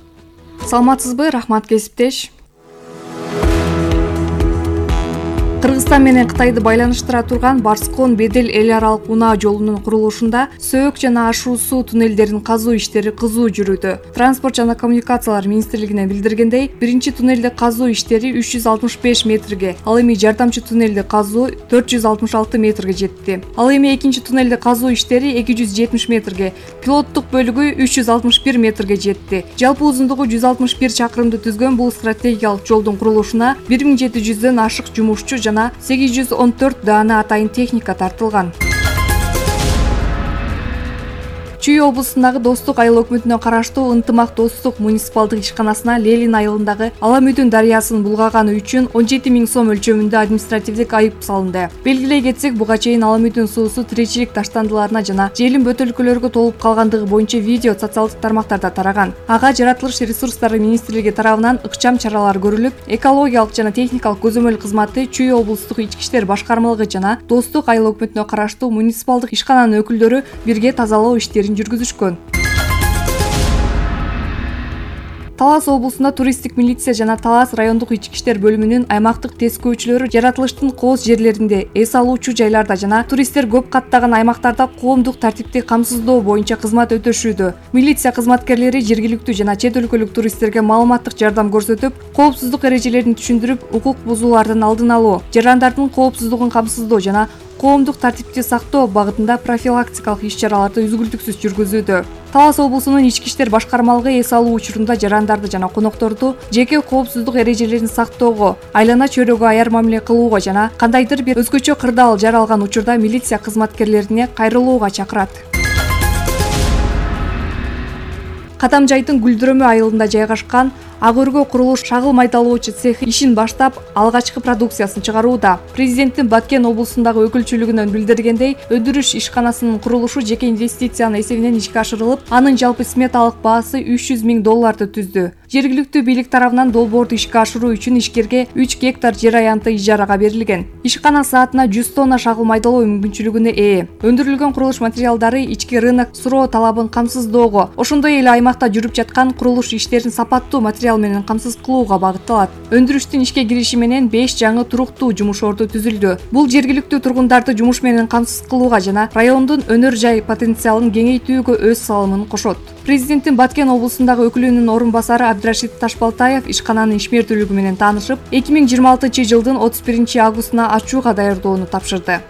Саламатсызбы? Рахмат, кесиптеш. Кыргызстан менен Кытайды байланыштыра турган Барскон Бедел эл аралык унаа жолунун курулушунда сөөк жана ашуу суу туннелдерин казуу иштери кызуу жүрүүдө. Транспорт жана коммуникациялар министрлигинен билдиргендей, биринчи туннелди казуу иштери үч жүз алтымыш беш метрге, ал эми жардамчы туннелди казуу төрт жүз алтымыш алты метрге жетти. Ал эми экинчи туннелди казуу иштери эки жүз жетимиш метрге, пилоттук бөлүгү үч жүз алтымыш бир метрге жетти. Жалпы узундугу жүз алтымыш бир чакырымды түзгөн бул стратегиялык жолдун курулушуна бир миң жети жүздөн ашык жумушчу жана сегиз жүз он төрт даана атайын техника тартылган. Чүй облусундагы Достук айыл өкмөтүнө караштуу Ынтымак Достук муниципалдык ишканасына Лелин айылындагы Аламүдүн дарыясын булгаганы үчүн он жети миң сом өлчөмүндө административдик айып салынды. Белгилей кетсек, буга чейин Аламүдүн суусу тиричилик таштандыларына жана желим бөтөлкөлөргө толуп калгандыгы боюнча видео социалдык тармактарда тараган. Ага жаратылыш ресурстары министрлиги тарабынан ыкчам чаралар көрүлүп, экологиялык жана техникалык көзөмөл кызматы, Чүй облустук ички иштер башкармалыгы жана Достук айыл өкмөтүнө караштуу муниципалдык ишкананын өкүлдөрү бирге тазалоо иштерин жүргүзүшкөн. Талас облусунда туристтик милиция жана Талас райондук ички иштер бөлүмүнүн аймактык тескөөчүлөрү жаратылыштын кооз жерлеринде, эс алуучу жайларда жана туристтер көп каттаган аймактарда коомдук тартипти камсыздоо боюнча кызмат өтөшүүдө. Милиция кызматкерлери жергиликтүү жана чет өлкөлүк туристтерге маалыматтык жардам көрсөтүп, коопсуздук эрежелерин түшүндүрүп, укук бузуулардын алдын алуу, жарандардын коопсуздугун камсыздоо жана коомдук тартипти сактоо багытында профилактикалык иш-чараларды үзгүлтүксүз жүргүзүүдө. Талас облусунун ички иштер башкармалыгы эс алуу учурунда жарандарды жана конокторду жеке коопсуздук эрежелерин сактоого, айлана чөйрөгө аяр мамиле кылууга жана кандайдыр бир өзгөчө кырдаал жаралган учурда милиция кызматкерлерине кайрылууга чакырат. Катамжайдын Гүлдүрөмө айылында жайгашкан Ак өргө курулуш шагыл майдалоочу цехи ишин баштап, алгачкы продукциясын чыгарууда. Президенттин Баткен облусундагы өкүлчүлүгүнөн билдиргендей, өндүрүш ишканасынын курулушу жеке инвестициянын эсебинен ишке ашырылып, анын жалпы сметалык баасы үч жүз миң долларды түздү. Жергиликтүү бийлик тарабынан долбоорду ишке ашыруу үчүн ишкерге үч гектар жер аянты ижарага берилген. Ишкана саатына жүз тонна шагыл майдалоо мүмкүнчүлүгүнө ээ. Өндүрүлгөн курулуш материалдары ички рынок суроо талабын камсыздоого, ошондой эле аймакта жүрүп жаткан курулуш иштерин сапаттуу материал менен камсыз кылууга багытталат. Өндүрүштүн ишке кириши менен беш жаңы туруктуу жумуш орду түзүлдү. Бул жергиликтүү тургундарды жумуш менен камсыз кылууга жана райондун өнөр жай потенциалын кеңейтүүгө өз салымын кошот. Президенттин Баткен облусундагы өкүлүнүн орун басары Абдрашид Ташбалтаев ишкананын ишмердүүлүгү менен таанышып, эки миң жыйырма алтынчы жылдын отуз биринчи августуна ачууга даярдоону тапшырды.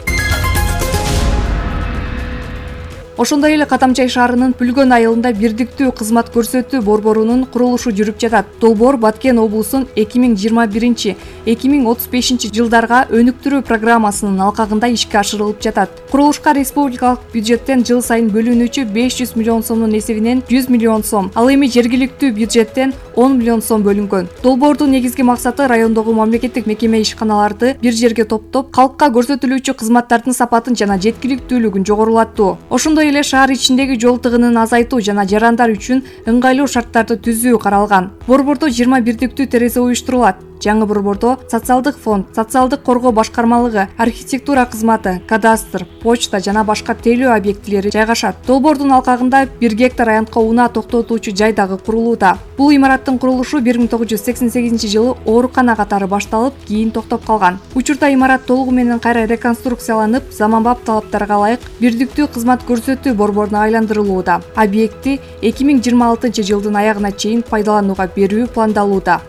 Ошондой эле Катамжай шаарынын Пүлгөн айылында бирдиктүү кызмат көрсөтүү борборунун курулушу жүрүп жатат. Долбоор Баткен облусунун эки миң жыйырма биринчи — эки миң отуз бешинчи жылдарга өнүктүрүү программасынын алкагында ишке ашырылып жатат. Курулушка республикалык бюджеттен жыл сайын бөлүнүүчү беш жүз миллион сомдун эсебинен жүз миллион сом, ал эми жергиликтүү бюджеттен он миллион сом бөлүнгөн. Долбоордун негизги максаты райондогу мамлекеттик мекеме ишканаларды бир жерге топтоп, калкка көрсөтүлүүчү кызматтардын сапатын жана жеткиликтүүлүгүн жогорулатуу. Ошондой эле шаар ичиндеги жол тыгынын азайтуу жана жарандар үчүн ыңгайлуу шарттарды түзүү каралган. Борбордо жыйырма бирдиктүү терезе уюштурулат. Жаңы борбордо социалдык фонд, социалдык коргоо башкармалыгы, архитектура кызматы, кадастр, почта жана башка тейлөө объектилери жайгашат. Долбоордун алкагында бир гектар аянтка унаа токтотуучу жай дагы курулууда. Бул имараттын курулушу бир миң тогуз жүз сексен сегизинчи жылы оорукана катары башталып, кийин токтоп калган. Учурда имарат толугу менен кайра реконструкцияланып, заманбап талаптарга ылайык бирдиктүү кызмат көрсөтүү борборуна айландырылууда. Объекти эки миң жыйырма алтынчы жылдын аягына чейин пайдаланууга берүү пландалууда.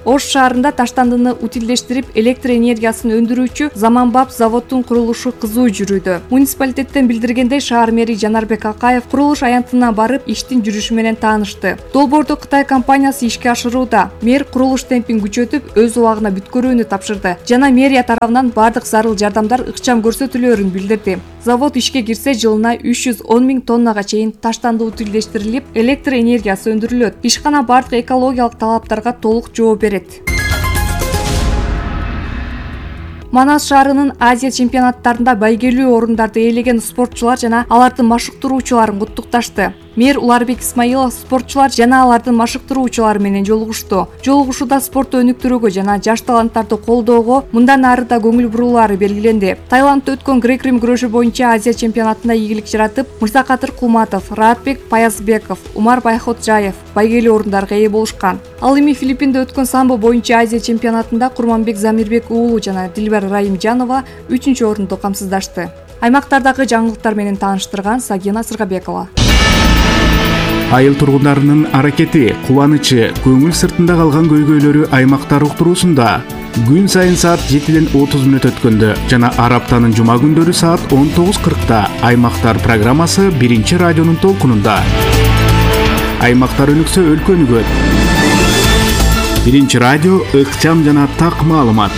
Ош шаарында таштандыны утилдештирип, электр энергиясын өндүрүүчү заманбап заводдун курулушу кызуу жүрүүдө. Муниципалитеттен билдиргендей, шаар мэри Жанарбек Акаев курулуш аянтына барып, иштин жүрүшү менен таанышты. Долбоорду Кытай компаниясы ишке ашырууда. Мэр курулуш темпин күчөтүп, өз убагына бүткөрүүнү тапшырды жана мэрия тарабынан бардык зарыл жардамдар ыкчам көрсөтүлөөрүн билдирди. Завод ишке кирсе, жылына үч жүз он миң тоннага чейин таштанды утилдештирилип, электр энергиясы өндүрүлөт. Ишкана бардык экологиялык талаптарга толук жооп берет. Манас шаарынын Азия чемпионаттарында байгелүү орундарды ээлеген спортчулар жана алардын машыктыруучуларын куттукташты. Мэр Уларбек Исмаилов спортчулар жана алардын машыктыруучулары менен жолугушту. Жолугушууда спортту өнүктүрүүгө жана жаш таланттарды колдоого мындан ары да көңүл бурулаары белгиленди. Таиландда өткөн грек-рим күрөшү боюнча Азия чемпионатында ийгилик жаратып, Мырзакадыр Кулматов, Раатбек Паязбеков, Умар Байходжаев байгелүү орундарга ээ болушкан. Ал эми Филиппинде өткөн самбо боюнча Азия чемпионатында Курманбек Замирбек уулу жана Дилбар Раимжанова үчүнчү орунду камсыздашты. Аймактардагы жаңылыктар менен тааныштырган Сагина Сыргабекова. Айыл тургундарынын аракети, кубанычы, көңүл сыртында калган көйгөйлөрү аймактар уктуруусунда күн сайын саат жетиден отуз мүнөт өткөндө жана ар аптанын жума күндөрү саат он тогуз кыркта Аймактар программасы биринчи радионун толкунунда. Аймактар өнүксө өлкө өнүгөт. Биринчи радио ыкчам жана так маалымат.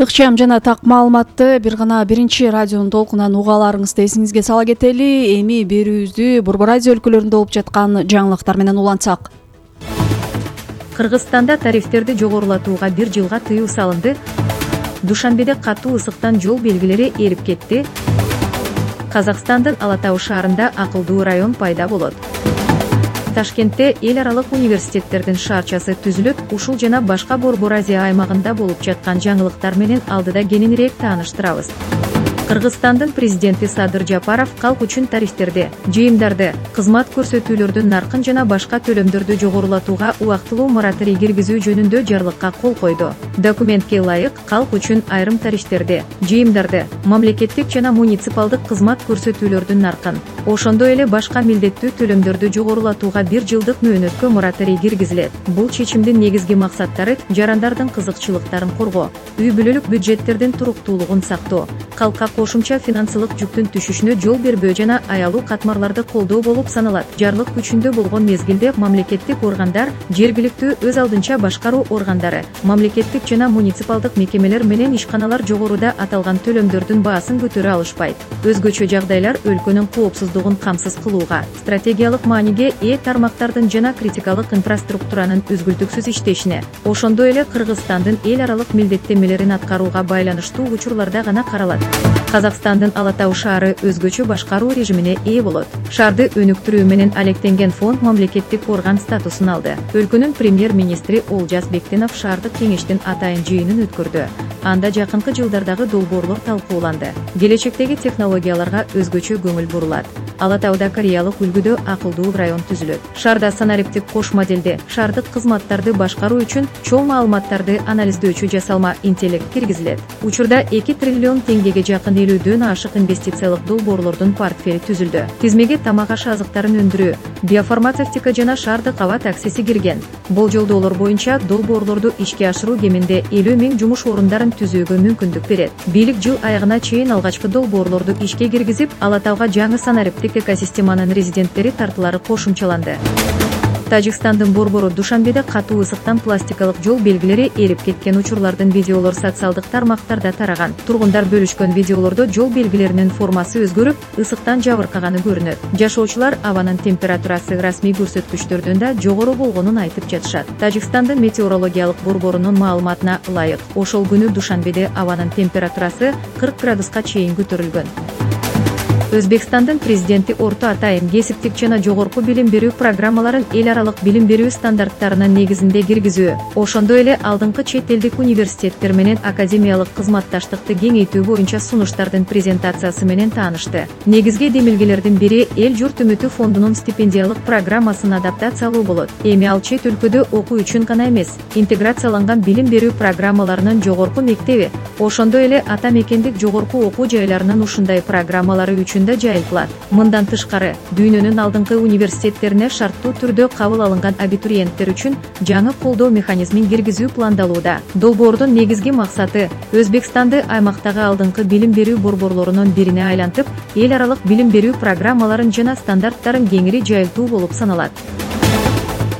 Ыкчам жана так маалыматты бир гана биринчи радионун толкунан уга аларыңызды эсиңизге сала кетели. Эми берүүбүздү Борбор Азия өлкөлөрүндө болуп жаткан жаңылыктар менен улантсак. Кыргызстанда тарифтерди жогорулатууга бир жылга тыюу салынды. Душанбеде катуу ысыктан жол белгилери эрип кетти. Казакстандын Ала Тау шаарында акылдуу район пайда болот. Ташкентте эл аралык университеттердин шаарчасы түзүлөт. Ушул жана башка Борбор Азия аймагында болуп жаткан жаңылыктар менен алдыда кененирээк тааныштырабыз. Кыргызстандын президенти Садыр Жапаров калк үчүн тарифтерди, жыйымдарды, кызмат көрсөтүүлөрдүн наркын жана башка төлөмдөрдү жогорулатууга убактылуу мораторий киргизүү жөнүндө жарлыкка кол койду. Документке ылайык калк үчүн айрым тарифтерди, жыйымдарды, мамлекеттик жана муниципалдык кызмат көрсөтүүлөрдүн наркын, ошондой эле башка милдеттүү төлөмдөрдү жогорулатууга бир жылдык мөөнөткө мораторий киргизилет. Бул чечимдин негизги максаттары жарандардын кызыкчылыктарын коргоо, үй бүлөлүк бюджеттердин туруктуулугун сактоо, калкка кошумча финансылык жүктүн түшүшүнө жол бербөө жана аялуу катмарларды колдоо болуп саналат. Жарлык күчүндө болгон мезгилде мамлекеттик органдар, жергиликтүү өз алдынча башкаруу органдары, мамлекеттик жана муниципалдык мекемелер менен ишканалар жогоруда аталган төлөмдөрдүн баасын көтөрө алышпайт. Өзгөчө жагдайлар өлкөнүн коопсуздугун камсыз кылууга, стратегиялык мааниге ээ тармактардын жана критикалык инфраструктуранын үзгүлтүксүз иштешине, ошондой эле Кыргызстандын эл аралык милдеттенмелерин аткарууга байланыштуу учурларда гана каралат. Казакстандын Ала Тау шаары өзгөчө башкаруу режимине ээ болот. Шаарды өнүктүрүү менен алектенген фонд мамлекеттик орган статусун алды. Өлкөнүн премьер-министри Олжас Бектенов шаардык кеңештин атайын жыйынын өткөрдү. Анда жакынкы жылдардагы долбоорлор талкууланды. Келечектеги технологияларга өзгөчө көңүл бурулат. Ала Тауда Кореялык үлгүдө акылдуу район түзүлөт. Шаарда санариптик кош моделде шаардык кызматтарды башкаруу үчүн чоң маалыматтарды анализдөөчү жасалма интеллект киргизилет. Учурда эки триллион теңгеге жакын элүүдөн ашык инвестициялык долбоорлордун портфели түзүлдү. Тизмеге тамак аш азыктарын өндүрүү, биофармацевтика жана шаардык аба таксиси кирген. Болжолдоолор боюнча долбоорлорду ишке ашыруу кеминде элүү миң жумуш орундарын түзүүгө мүмкүндүк берет. Бийлик жыл аягына чейин алгачкы долбоорлорду ишке киргизип, Ала Тауга жаңы санариптик экосистеманын резиденттери тартылары кошумчаланды. Тажикстандын борбору Душанбеде катуу ысыктан пластикалык жол белгилери эрип кеткен учурлардын видеолор социалдык тармактарда тараган. Тургундар бөлүшкөн видеолордо жол белгилеринин формасы өзгөрүп, ысыктан жабыркаганы көрүнөт. Жашоочулар абанын температурасы расмий көрсөткүчтөрдөн да жогору болгонун айтып жатышат. Тажикстандын метеорологиялык борборунун маалыматына ылайык, ошол күнү Душанбеде абанын температурасы кырк градуска чейин көтөрүлгөн. Өзбекстандын президенти орто атайын кесиптик жана жогорку билим берүү программаларын эл аралык билим берүү стандарттарынын негизинде киргизүү, ошондой эле алдыңкы чет элдик университеттер менен академиялык кызматташтыкты кеңейтүү боюнча сунуштардын презентациясы менен таанышты. Негизги демилгелердин бири эл журт үмүтү фондунун стипендиялык программасын адаптациялоо болот. Эми ал чет өлкөдө окуу үчүн гана эмес, интеграцияланган билим берүү программаларынын жогорку мектеби, ошондой эле ата мекендик жогорку окуу жайларынын ушундай программалары үчүн да жайылтылат. Мындан тышкары, дүйнөнүн алдыңкы университеттерине шарттуу түрдө кабыл алынган абитуриенттер үчүн жаңы колдоо механизмин киргизүү пландалууда. Долбоордун негизги максаты Өзбекстанды аймактагы алдыңкы билим берүү борборлорунун бирине айлантып, эл аралык билим берүү программаларын жана стандарттарын кеңири жайылтуу болуп саналат.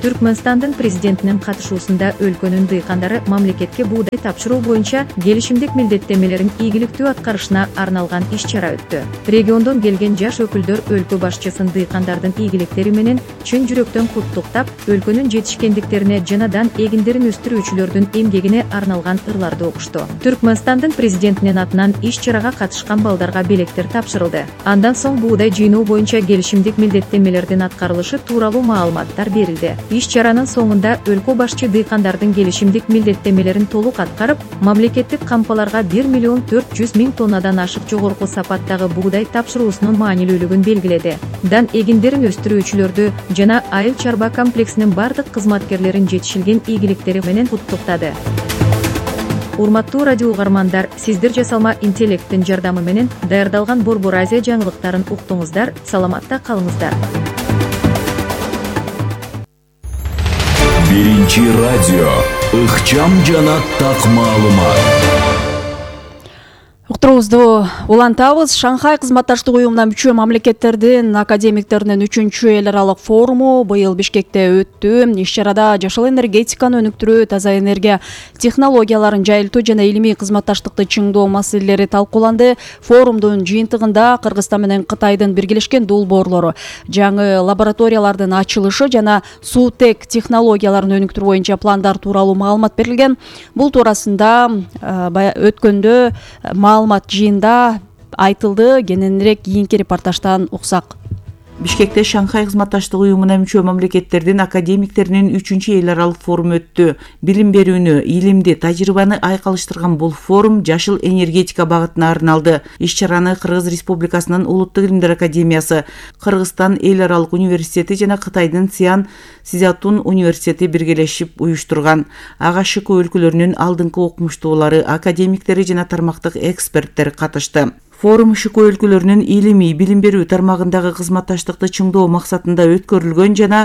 Түркмөнстандын президентинин катышуусунда өлкөнүн дыйкандары мамлекетке буудай тапшыруу боюнча келишимдик милдеттемелерин ийгиликтүү аткарышына арналган иш-чара өттү. Региондон келген жаш өкүлдөр өлкө башчысын дыйкандардын ийгиликтери менен чын жүрөктөн куттуктап, өлкөнүн жетишкендиктерине жанадан эгиндерин өстүрүүчүлөрдүн эмгегине арналган ырларды окушту. Түркмөнстандын президентинин атынан иш-чарага катышкан балдарга белектер тапшырылды. Андан соң буудай жыйноо боюнча келишимдик милдеттемелердин аткарылышы тууралуу маалыматтар берилди. Иш-чаранын соңунда өлкө башчы дыйкандардын келишимдик милдеттемелерин толук аткарып, мамлекеттик кампаларга бир миллион төрт жүз миң тоннадан ашык жогорку сапаттагы буудай тапшыруусунун маанилүүлүгүн белгиледи. Дан эгиндерин өстүрүүчүлөрдү жана айыл чарба комплексинин бардык кызматкерлерин жетишилген ийгиликтери менен куттуктады. Урматтуу радио угармандар, сиздер жасалма интеллекттин жардамы менен даярдалган Борбор Азия жаңылыктарын уктуңуздар, саламатта калыңыздар. Биринчи радио ыкчам жана так маалымат. Уктуруубузду улантабыз. Шанхай кызматташтык уюмуна мүчө мамлекеттердин академиктеринин үчүнчү эл аралык форуму быйыл Бишкекте өттү. Иш-чарада жашыл энергетиканы өнүктүрүү, таза энергия технологияларын жайылтуу жана илимий кызматташтыкты чыңдоо маселелери талкууланды. Форумдун жыйынтыгында Кыргызстан менен Кытайдын биргелешкен долбоорлору, жаңы лабораториялардын ачылышы жана суутек технологияларын өнүктүрүү боюнча пландар тууралуу маалымат берилген. Бул туурасында өткөндө маалымат жыйында айтылды. Кененирээк кийинки репортаждан уксак. Бишкекте Шанхай кызматташтык уюмуна мүчө мамлекеттердин академиктеринин үчүнчү эл аралык форуму өттү. Билим берүүнү, илимди, тажрыйбаны айкалыштырган бул форум жашыл энергетика багытына арналды. Иш-чараны Кыргыз Республикасынын Улуттук илимдер академиясы, Кыргызстан эл аралык университети жана Кытайдын Сиан Сизатун университети биргелешип уюштурган. Ага ШК өлкөлөрүнүн алдыңкы окумуштуулары, академиктери жана тармактык эксперттер катышты. Форум ШК өлкөлөрүнүн илимий билим берүү тармагындагы кызматташтыкты чыңдоо максатында өткөрүлгөн жана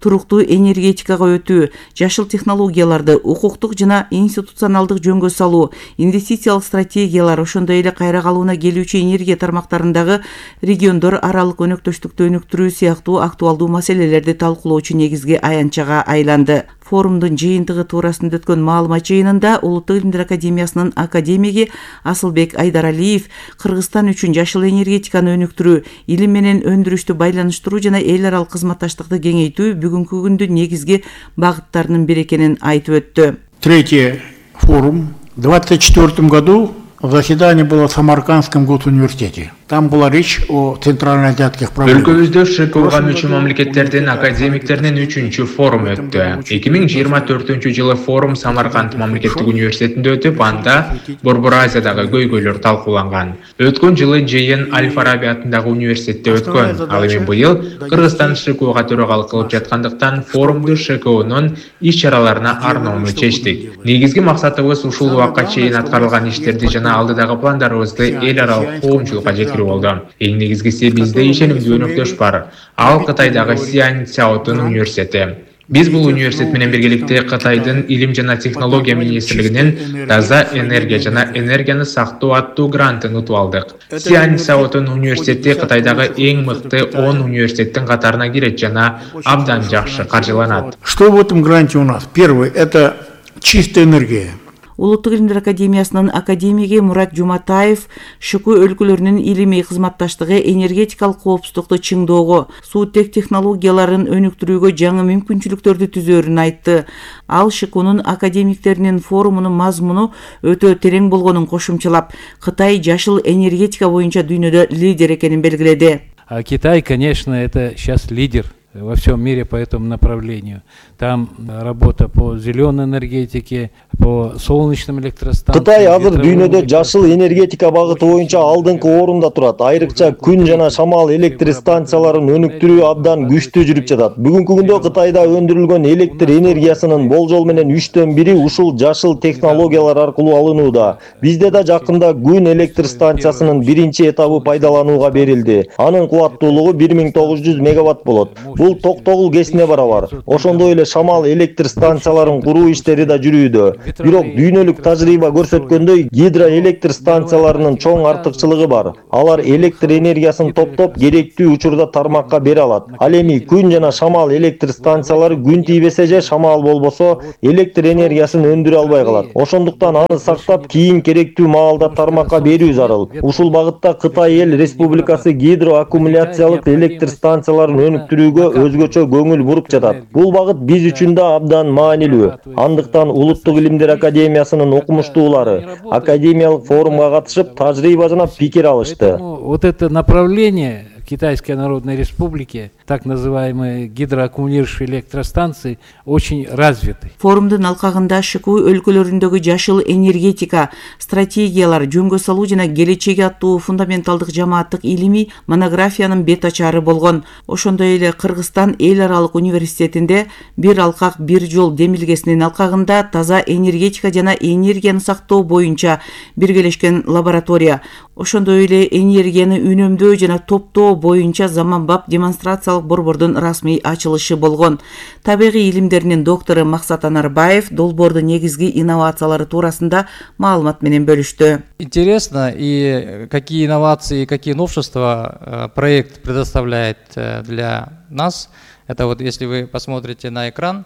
туруктуу энергетикага өтүү, жашыл технологияларды укуктук жана институционалдык жөнгө салуу, инвестициялык стратегиялар, ошондой эле кайра калыбына келүүчү энергия тармактарындагы региондор аралык өнөктөштүктү өнүктүрүү сыяктуу актуалдуу маселелерди талкуулоочу негизги аянтчага айланды. Форумдун жыйынтыгы туурасында өткөн маалымат жыйынында Улуттук илимдер академиясынын академиги Асылбек Айдаралиев Кыргызстан үчүн жашыл энергетиканы өнүктүрүү, илим менен өндүрүштү байланыштыруу жана эл аралык кызматташтыкты кеңейтүү бүгүнкү күндүн негизги багыттарынын бири экенин айтып өттү. Третий форум в двадцать четвёртом году заседание было в Самаркандском госуниверситете. Там была речь о центральноазиатских проблемах. Өлкөбүздө ШКУга мүчө мамлекеттердин академиктеринин үчүнчү форуму өттү. эки миң жыйырма төртүнчү жылы форум Самарканд мамлекеттик университетинде өтүп, анда Борбор Азиядагы көйгөйлөр талкууланган. Өткөн жылы жыйын Аль-Фараби атындагы университетте өткөн. Ал эми быйыл Кыргызстан ШКУга төрагалык кылып жаткандыктан форумду ШКУнун иш-чараларына арноону чечтик. Негизги максатыбыз ушул убакка чейин аткарылган иштерди жана алдыдагы пландарыбызды эл аралык коомчулукка жеткирүү болду. Эң негизгиси бизде ишенимдүү өнөктөш бар. Ал Кытайдагы Сиань Цзяотун университети. Биз бул университет менен биргеликте Кытайдын илим жана технология министрлигинин таза энергия жана энергияны сактоо аттуу грантын утуп алдык. Сиань Цзяотун университети Кытайдагы эң мыкты он университеттин катарына кирет жана абдан жакшы каржыланат. Что в этом гранте у нас? Первый — это чистая энергия. Улуттук илимдер академиясынын академиги Мурат Жуматаев ШКУ өлкөлөрүнүн илимий кызматташтыгы энергетикалык коопсуздукту чыңдоого, суутек технологияларын өнүктүрүүгө жаңы мүмкүнчүлүктөрдү түзөөрүн айтты. Ал ШКУнун академиктеринин форумунун мазмуну өтө терең болгонун кошумчалап, Кытай жашыл энергетика боюнча дүйнөдө лидер экенин белгиледи. А Китай, конечно, это сейчас лидер во всем мире по этому направлению. Там работа по зеленой энергетике, по солнечным электростанциям. Кытай азыр дүйнөдө жашыл энергетика багыты боюнча алдыңкы орунда турат. Айрыкча күн жана шамал электр станцияларын өнүктүрүү абдан күчтүү жүрүп жатат. Бүгүнкү күндө Кытайда өндүрүлгөн электр энергиясынын болжол менен үчтөн бири ушул жашыл технологиялар аркылуу алынууда. Бизде да жакында күн электр станциясынын биринчи этабы пайдаланууга берилди. Анын кубаттуулугу бир миң тогуз жүз мегаватт болот. Бул токтогул кесине барабар. Ошондой эле шамал электр станцияларын куруу иштери да жүрүүдө. Бирок дүйнөлүк тажрыйба көрсөткөндөй, гидроэлектр станцияларынын чоң артыкчылыгы бар. Алар электр энергиясын топтоп, керектүү учурда тармакка бере алат. Ал эми күн жана шамал электр станциялары күн тийбесе же шамал болбосо, электр энергиясын өндүрө албай калат. Ошондуктан аны сактап, кийин керектүү маалда тармакка берүү зарыл. Ушул багытта Кытай эл республикасы гидроаккумуляциялык электр станцияларын өнүктүрүүгө өзгөчө көңүл буруп жатат. Бул багыт биз үчүн да абдан маанилүү. Андыктан Улуттук илимдер академиясынын окумуштуулары академиялык форумга катышып, тажрыйба жана пикир алышты. Вот это направление Китайской Народной Республики, так называемые гидроаккумулирующие электростанции, очень развиты. Форумдун алкагында ШКУ өлкөлөрүндөгү жашыл энергетика, стратегиялар, жөнгө салуу жана келечеги аттуу фундаменталдык жамааттык илимий монографиянын бет ачары болгон. Ошондой эле Кыргызстан эл аралык университетинде бир алкак бир жол демилгесинин алкагында таза энергетика жана энергияны сактоо боюнча биргелешкен лаборатория, ошондой эле энергияны үнөмдөө жана топтоо боюнча заманбап демонстрациялык борбордун расмий ачылышы болгон. Табигый илимдеринин доктору Максат Анарбаев долбоордун негизги инновациялары туурасында маалымат менен бөлүштү. Интересно, и какие инновации, какие новшества проект предоставляет для нас. Это вот если вы посмотрите на экран,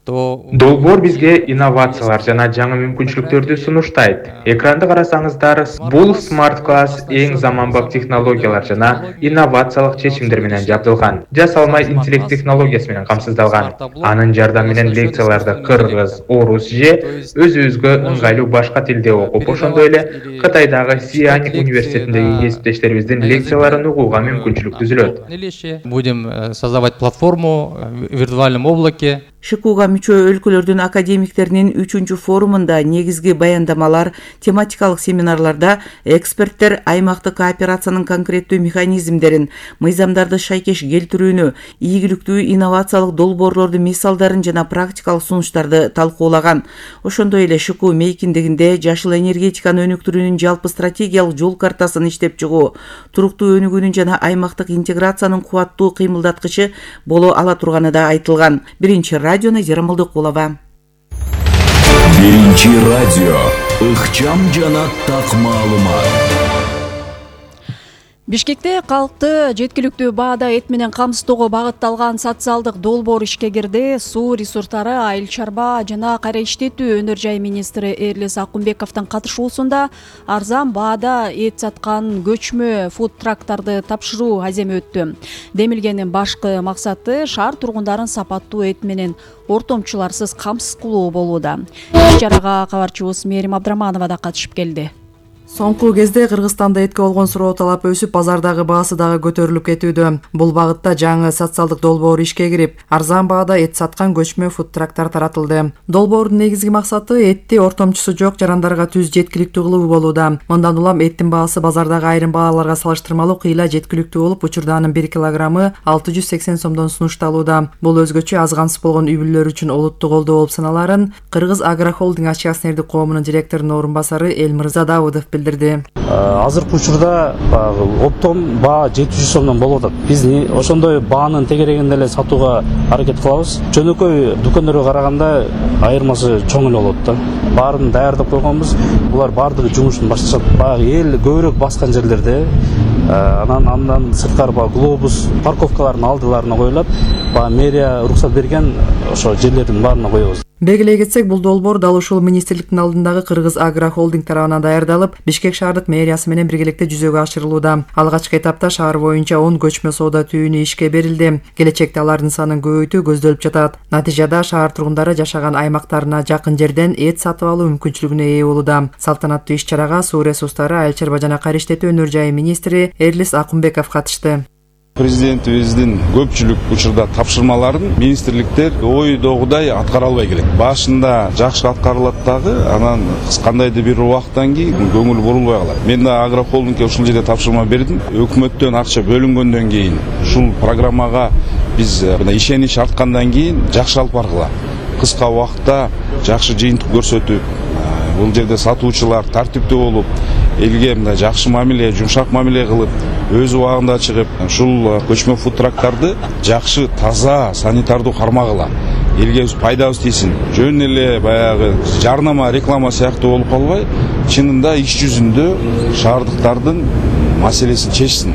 Долбоор бизге инновациялар жана жаңы мүмкүнчүлүктөрдү сунуштайт. Экранды карасаңыздар, бул смарт класс эң заманбап технологиялар жана инновациялык чечимдер менен жабдылган. Жасалма интеллект технологиясы менен камсыздалган. Анын жардамы менен лекцияларды кыргыз, орус же өзүбүзгө ыңгайлуу башка тилде окуп, ошондой эле Кытайдагы Сиань университетиндеги кесиптештерибиздин лекцияларын угууга мүмкүнчүлүк түзүлөт. Будем создавать платформу в виртуальном облаке. ШКУга мүчө өлкөлөрдүн академиктеринин үчүнчү форумунда негизги баяндамалар, тематикалык семинарларда эксперттер аймактык кооперациянын конкреттүү механизмдерин, мыйзамдарды шайкеш келтирүүнү, ийгиликтүү инновациялык долбоорлордун мисалдарын жана практикалык сунуштарды талкуулаган. Ошондой эле ШКУ мейкиндигинде жашыл энергетиканы өнүктүрүүнүн жалпы стратегиялык жол картасын иштеп чыгуу, туруктуу өнүгүүнүн жана аймактык интеграциянын кубаттуу кыймылдаткычы боло ала турганы да айтылган. Биринчи радио Назира Молдокулова. Биринчи радио. Ыкчам жана так маалымат. Бишкекте калкты жеткиликтүү баада эт менен камсыздоого багытталган социалдык долбоор ишке кирди. Суу ресурстары, айыл чарба жана кайра иштетүү өнөр жай министри Эрлес Акунбековдун катышуусунда арзан баада эт саткан көчмө фуд-трактарды тапшыруу аземи өттү. Демилгенин башкы максаты шаар тургундарын сапаттуу эт менен ортомчуларсыз камсыз кылуу болууда. Иш-чарага кабарчыбыз Мерим Абдраманова да катышып келди. Соңку кезде Кыргызстанда этке болгон суроо талап өсүп, базардагы баасы дагы көтөрүлүп кетүүдө. Бул багытта жаңы социалдык долбоор ишке кирип, арзан баада эт саткан көчмө фуд-трактар таратылды. Долбоордун негизги максаты этти ортомчусу жок жарандарга түз жеткиликтүү кылуу болууда. Мындан улам эттин баасы базардагы айрым бааларга салыштырмалуу кыйла жеткиликтүү болуп, учурда анын бир килограммы алты жүз сексен сомдон сунушталууда. Бул өзгөчө аз камсыз болгон үй бүлөлөр үчүн олуттуу колдоо болуп саналарын Кыргыз Агрохолдинг акционердик коомунун директорунун орун басары Элмырза Давыдов билдирди. Азыркы учурда оптом баа жети жүз сомдон болуп атат. Биз ошондой баанын тегерегинде эле сатууга аракет кылабыз. Жөнөкөй дүкөндөргө караганда айырмасы чоң эле болот да. Баарын даярдап койгонбуз. Булар баардыгы жумушун башташат. Баягы эл көбүрөөк баскан жерлерде анан андан сырткары баягы глобус парковкалардын алдыларына коюлат. Баягы мэрия уруксат берген ошо жерлердин баарына коебуз. Белгилей кетсек, бул долбоор дал ушул министрликтин алдындагы Кыргыз Агро Холдинг тарабынан даярдалып, Бишкек шаардык мэриясы менен биргеликте жүзөгө ашырылууда. Алгачкы этапта шаар боюнча он көчмө соода түйүнү ишке берилди. Келечекте алардын санын көбөйтүү көздөлүп жатат. Натыйжада шаар тургундары жашаган аймактарына жакын жерден эт сатып алуу мүмкүнчүлүгүнө ээ болууда. Салтанаттуу иш-чарага суу ресурстары, айыл чарба жана кар иштетүү өнөр жайы министри Эрлис Акунбеков катышты. Президентибиздин көпчүлүк учурда тапшырмаларын министрликтер ойдогудай аткара албай келет. Башында жакшы аткарылат дагы, анан кандайдыр бир убакыттан кийин көңүл бурулбай калат. Мен да Агрохолдингке ушул жерде тапшырма бердим. Өкмөттөн акча бөлүнгөндөн кийин ушул программага биз мына ишенич арткандан кийин жакшы алып баргыла. Кыска убакытта жакшы жыйынтык көрсөтүп, бул жерде сатуучулар тартиптүү болуп, элге мындай жакшы мамиле, жумшак мамиле кылып, өз убагында чыгып, ушул көчмө фудтрактарды жакшы, таза, санитардуу кармагыла. Элге пайдабыз тийсин. Жөн эле баягы жарнама, реклама сыяктуу болуп калбай, чынында иш жүзүндө шаардыктардын маселесин чечсин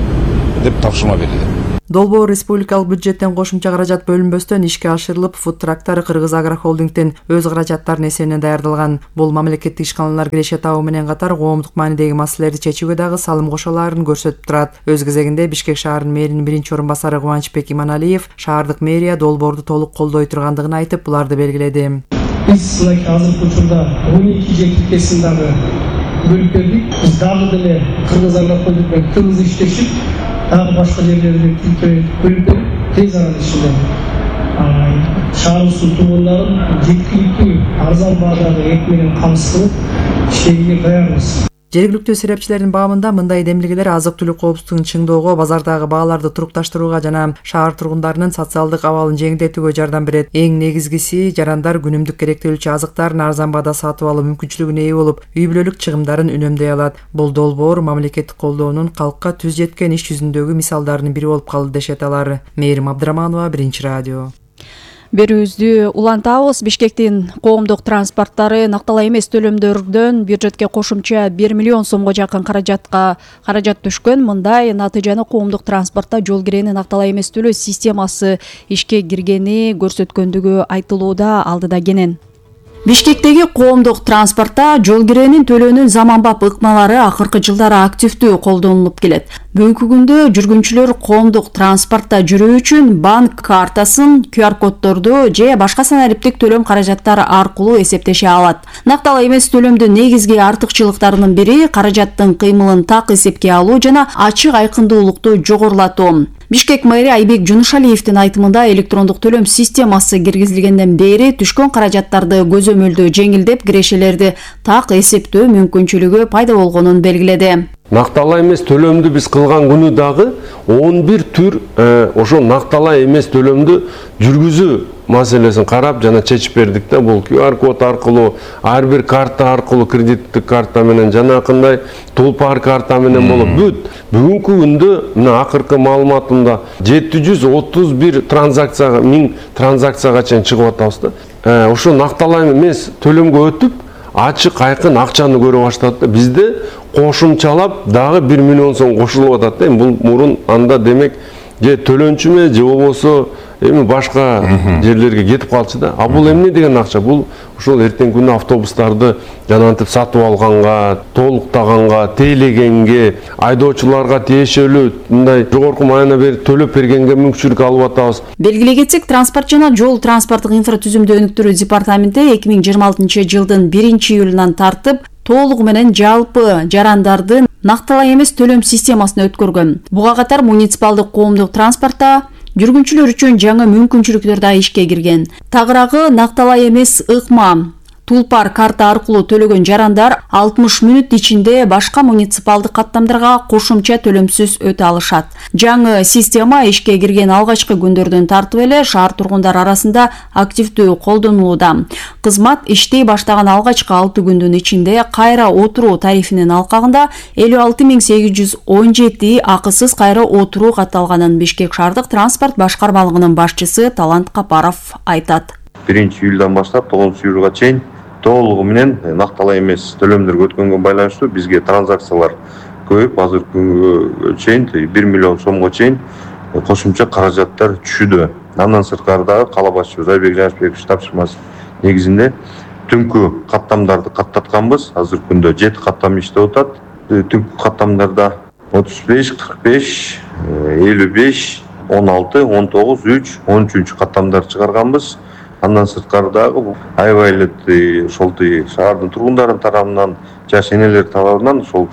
деп тапшырма берилди. Долбоор республикалык бюджеттен кошумча каражат бөлүнбөстөн ишке ашырылып, фудтрактар Кыргыз Агро Холдингдин өз каражаттарынын эсебинен даярдалган. Бул мамлекеттик ишканалар киреше табуу менен катар коомдук маанидеги маселелерди чечүүгө дагы салым кошо алаарын көрсөтүп турат. Өз кезегинде Бишкек шаарынын мэринин биринчи орун басары Кубанычбек Иманалиев шаардык мэрия долбоорду толук колдой тургандыгын айтып, буларды белгиледи. Биз азыркы учурда он эки жер тиркесин дагы бөлүп бердик. Биз дагы деле Кыргыз Агро Холдинг менен тыгыз иштешип, дагы башка жерлерде бөлүп берип, тез арада ичинде шаарыбыздын тургундарын жеткиликтүү арзан баадагы эт менен камсыз кылып иштегенге даярбыз. Жергиликтүү серепчилердин баамында мындай демилгелер азык-түлүк коопсуздугун чыңдоого, базардагы бааларды турукташтырууга жана шаар тургундарынын социалдык абалын жеңилдетүүгө жардам берет. Эң негизгиси, жарандар күнүмдүк керектелүүчү азыктарын арзан баада сатып алуу мүмкүнчүлүгүнө ээ болуп, үй бүлөлүк чыгымдарын үнөмдөй алат. Бул долбоор мамлекеттик колдоонун калкка түз жеткен иш жүзүндөгү мисалдарынын бири болуп калды дешет алар. Мээрим Абдыраманова, Биринчи радио. Берүүбүздү улантабыз. Бишкектин коомдук транспорттары накталай эмес төлөмдөрдөн бюджетке кошумча бир миллион сомго жакын каражатка каражат түшкөн. Мындай натыйжаны коомдук транспортто жол кирени накталай эмес төлөө системасы ишке киргени көрсөткөндүгү айтылууда. Алдыда Кенен. Бишкектеги коомдук транспортто жол киренин төлөөнүн заманбап ыкмалары акыркы жылдары активдүү колдонулуп келет. Бүгүнкү күндө жүргүнчүлөр коомдук транспортто жүрүү үчүн банк картасын, ку ар коддорду же башка санариптик төлөм каражаттары аркылуу эсептеше алат. Накталай эмес төлөмдүн негизги артыкчылыктарынын бири каражаттын кыймылын так эсепке алуу жана ачык айкындуулукту жогорулатуу. Бишкек мэри Айбек Жунушалиевдин айтымында электрондук төлөм системасы киргизилгенден бери түшкөн каражаттарды көзөмөлдөө жеңилдеп, кирешелерди так эсептөө мүмкүнчүлүгү пайда болгонун белгиледи. Накталай эмес төлөмдү биз кылган күнү дагы он бир түр ошо накталай эмес төлөмдү жүргүзүү маселесин карап жана чечип бердик да. Бул ку ар код аркылуу, ар бир карта аркылуу, кредиттик карта менен жанакындай тулпар карта менен болуп бүт. Бүгүнкү күндө мына акыркы маалыматымда жети жүз отуз бир транзакцияга, миң транзакцияга чейин чыгып атабыз да. Ошо накталай эмес төлөмгө өтүп, ачык айкын акчаны көрө баштады да. Бизде кошумчалап дагы бир миллион сом кошулуп атат да. Бул мурун анда демек же төлөнчүмө же болбосо эми башка жерлерге кетип калчу да. А бул эмне деген акча? Бул ошол эртеңки күнү автобустарды жанантип сатып алганга, толуктаганга, тейлегенге, айдоочуларга тиешелүү мындай жогорку маана берип төлөп бергенге мүмкүнчүлүк алып атабыз. Белгилей кетсек, транспорт жана жол транспорттук инфратүзүмдү өнүктүрүү департаменти эки миң жыйырма алтынчы жылдын биринчи июлунан тартып толугу менен жалпы жарандардын накталай эмес төлөм системасына өткөргөн. Буга катар муниципалдык коомдук транспортто жүргүнчүлөр үчүн жаңы мүмкүнчүлүктөр да ишке кирген. Тагыраагы накталай эмес ыкма тулпар карта аркылуу төлөгөн жарандар алтымыш мүнөт ичинде башка муниципалдык каттамдарга кошумча төлөмсүз өтө алышат. Жаңы система ишке кирген алгачкы күндөрдөн тартып эле шаар тургундары арасында активдүү колдонулууда. Кызмат иштей баштаган алгачкы алты күндүн ичинде кайра отуруу тарифинин алкагында элүү алты миң сегиз жүз он жети акысыз кайра отуруу катталганын Бишкек шаардык транспорт башкармалыгынын башчысы Талант Капаров айтат. биринчи июлдан баштап тогузунчу июлга чейин толугу менен накталай эмес төлөмдөргө өткөнгө байланыштуу бизге транзакциялар көбөйүп, азыркы күнгө чейин бир миллион сомго чейин кошумча каражаттар түшүүдө. Андан сырткары дагы кала башчыбыз Айбек Жанышбекович тапшырмасы негизинде түнкү каттамдарды каттатканбыз. Азыркы күндө жети каттам иштеп атат. Түнкү каттамдарда отуз беш, кырк беш, элүү беш, он алты, он тогуз, үч, он үчүнчү каттамдарды чыгарганбыз. Андан сырткары дагы аябай эле ошол шаардын тургундарынын тарабынан, жаш энелер тарабынан ошол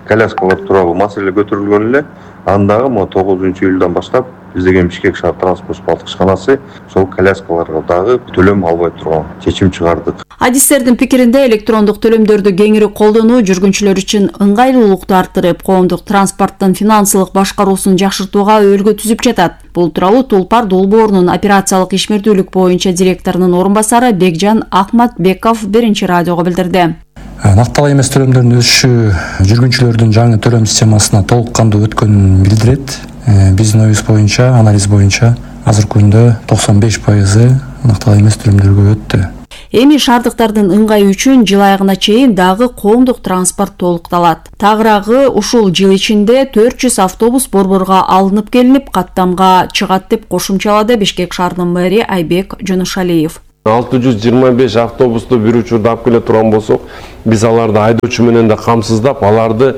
коляскалар тууралуу маселе көтөрүлгөн эле. Андагы могу тогузунчу июлдан баштап биздеген Бишкек шаар транспорт балтык ишканасы ошол коляскаларга дагы төлөм албай турган чечим чыгардык. Адистердин пикиринде электрондук төлөмдөрдү кеңири колдонуу жүргүнчүлөр үчүн ыңгайлуулукту арттырып, коомдук транспорттун финансылык башкаруусун жакшыртууга өбөлгө түзүп жатат. Бул тууралуу Тулпар долбоорунун операциялык ишмердүүлүк боюнча директорунун орун басары Бекжан Акматбеков биринчи радиого билдирди. Накталай эмес төлөмдөрдүн өсүшү жүргүнчүлөрдүн жаңы төлөм системасына толук кандуу өткөнүн билдирет. Биздин оюбуз боюнча, анализ боюнча азыркы күндө токсон беш пайызы накталай эмес төлөмдөргө өттү. Эми шаардыктардын ыңгайы үчүн жыл айыгына чейин дагы коомдук транспорт толукталат. Тагыраагы ушул жыл ичинде төрт жүз автобус борборго алынып келинип, каттамга чыгат деп кошумчалады Бишкек шаарынын мэри Айбек Жонушалиев. алты жүз жыйырма беш автобусту бир учурда алып келе турган болсок, биз аларды айдоочу менен да камсыздап, аларды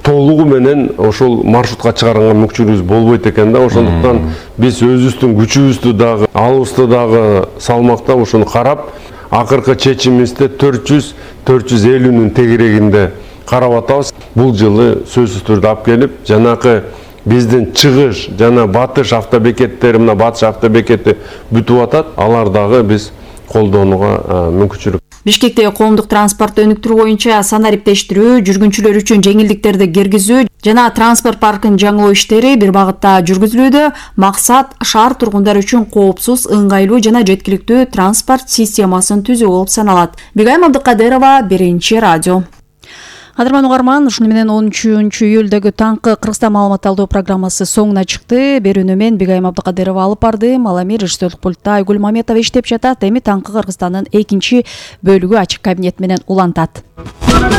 толугу менен ошол маршрутка чыгарганга мүмкүнчүлүгүбүз болбойт экен да. Ошондуктан биз өзүбүздүн күчүбүздү дагы, алыбызды дагы салмактап ошону карап, акыркы чечимибизде төрт жүз төрт жүз элүүнүн тегерегинде карап атабыз. Бул жылы сөзсүз түрдө алып келип, жанакы биздин чыгыш жана батыш автобекеттери, мына батыш автобекети бүтүп атат, алар дагы биз колдонууга мүмкүнчүлүк. Бишкекте коомдук транспортту өнүктүрүү боюнча санариптештирүү, жүргүнчүлөр үчүн жеңилдиктерди киргизүү жана транспорт паркын жаңылоо иштери бир багытта жүргүзүлүүдө. Максат шаар тургундары үчүн коопсуз, ыңгайлуу жана жеткиликтүү транспорт системасын түзүү болуп саналат. Бигайым Абдыкадырова, биринчи радио. Кадырман угарман, ушуну менен он үчүнчү июлдөгү таңкы Кыргызстан маалымат алуу программасы соңуна чыкты. Берүүнү мен Бигайым Абдыкадырова алып бардым. Ал эми режиссерлук пультта Айгүл Маметова иштеп жатат. Эми таңкы Кыргызстандын экинчи бөлүгү ачык кабинет менен улантат.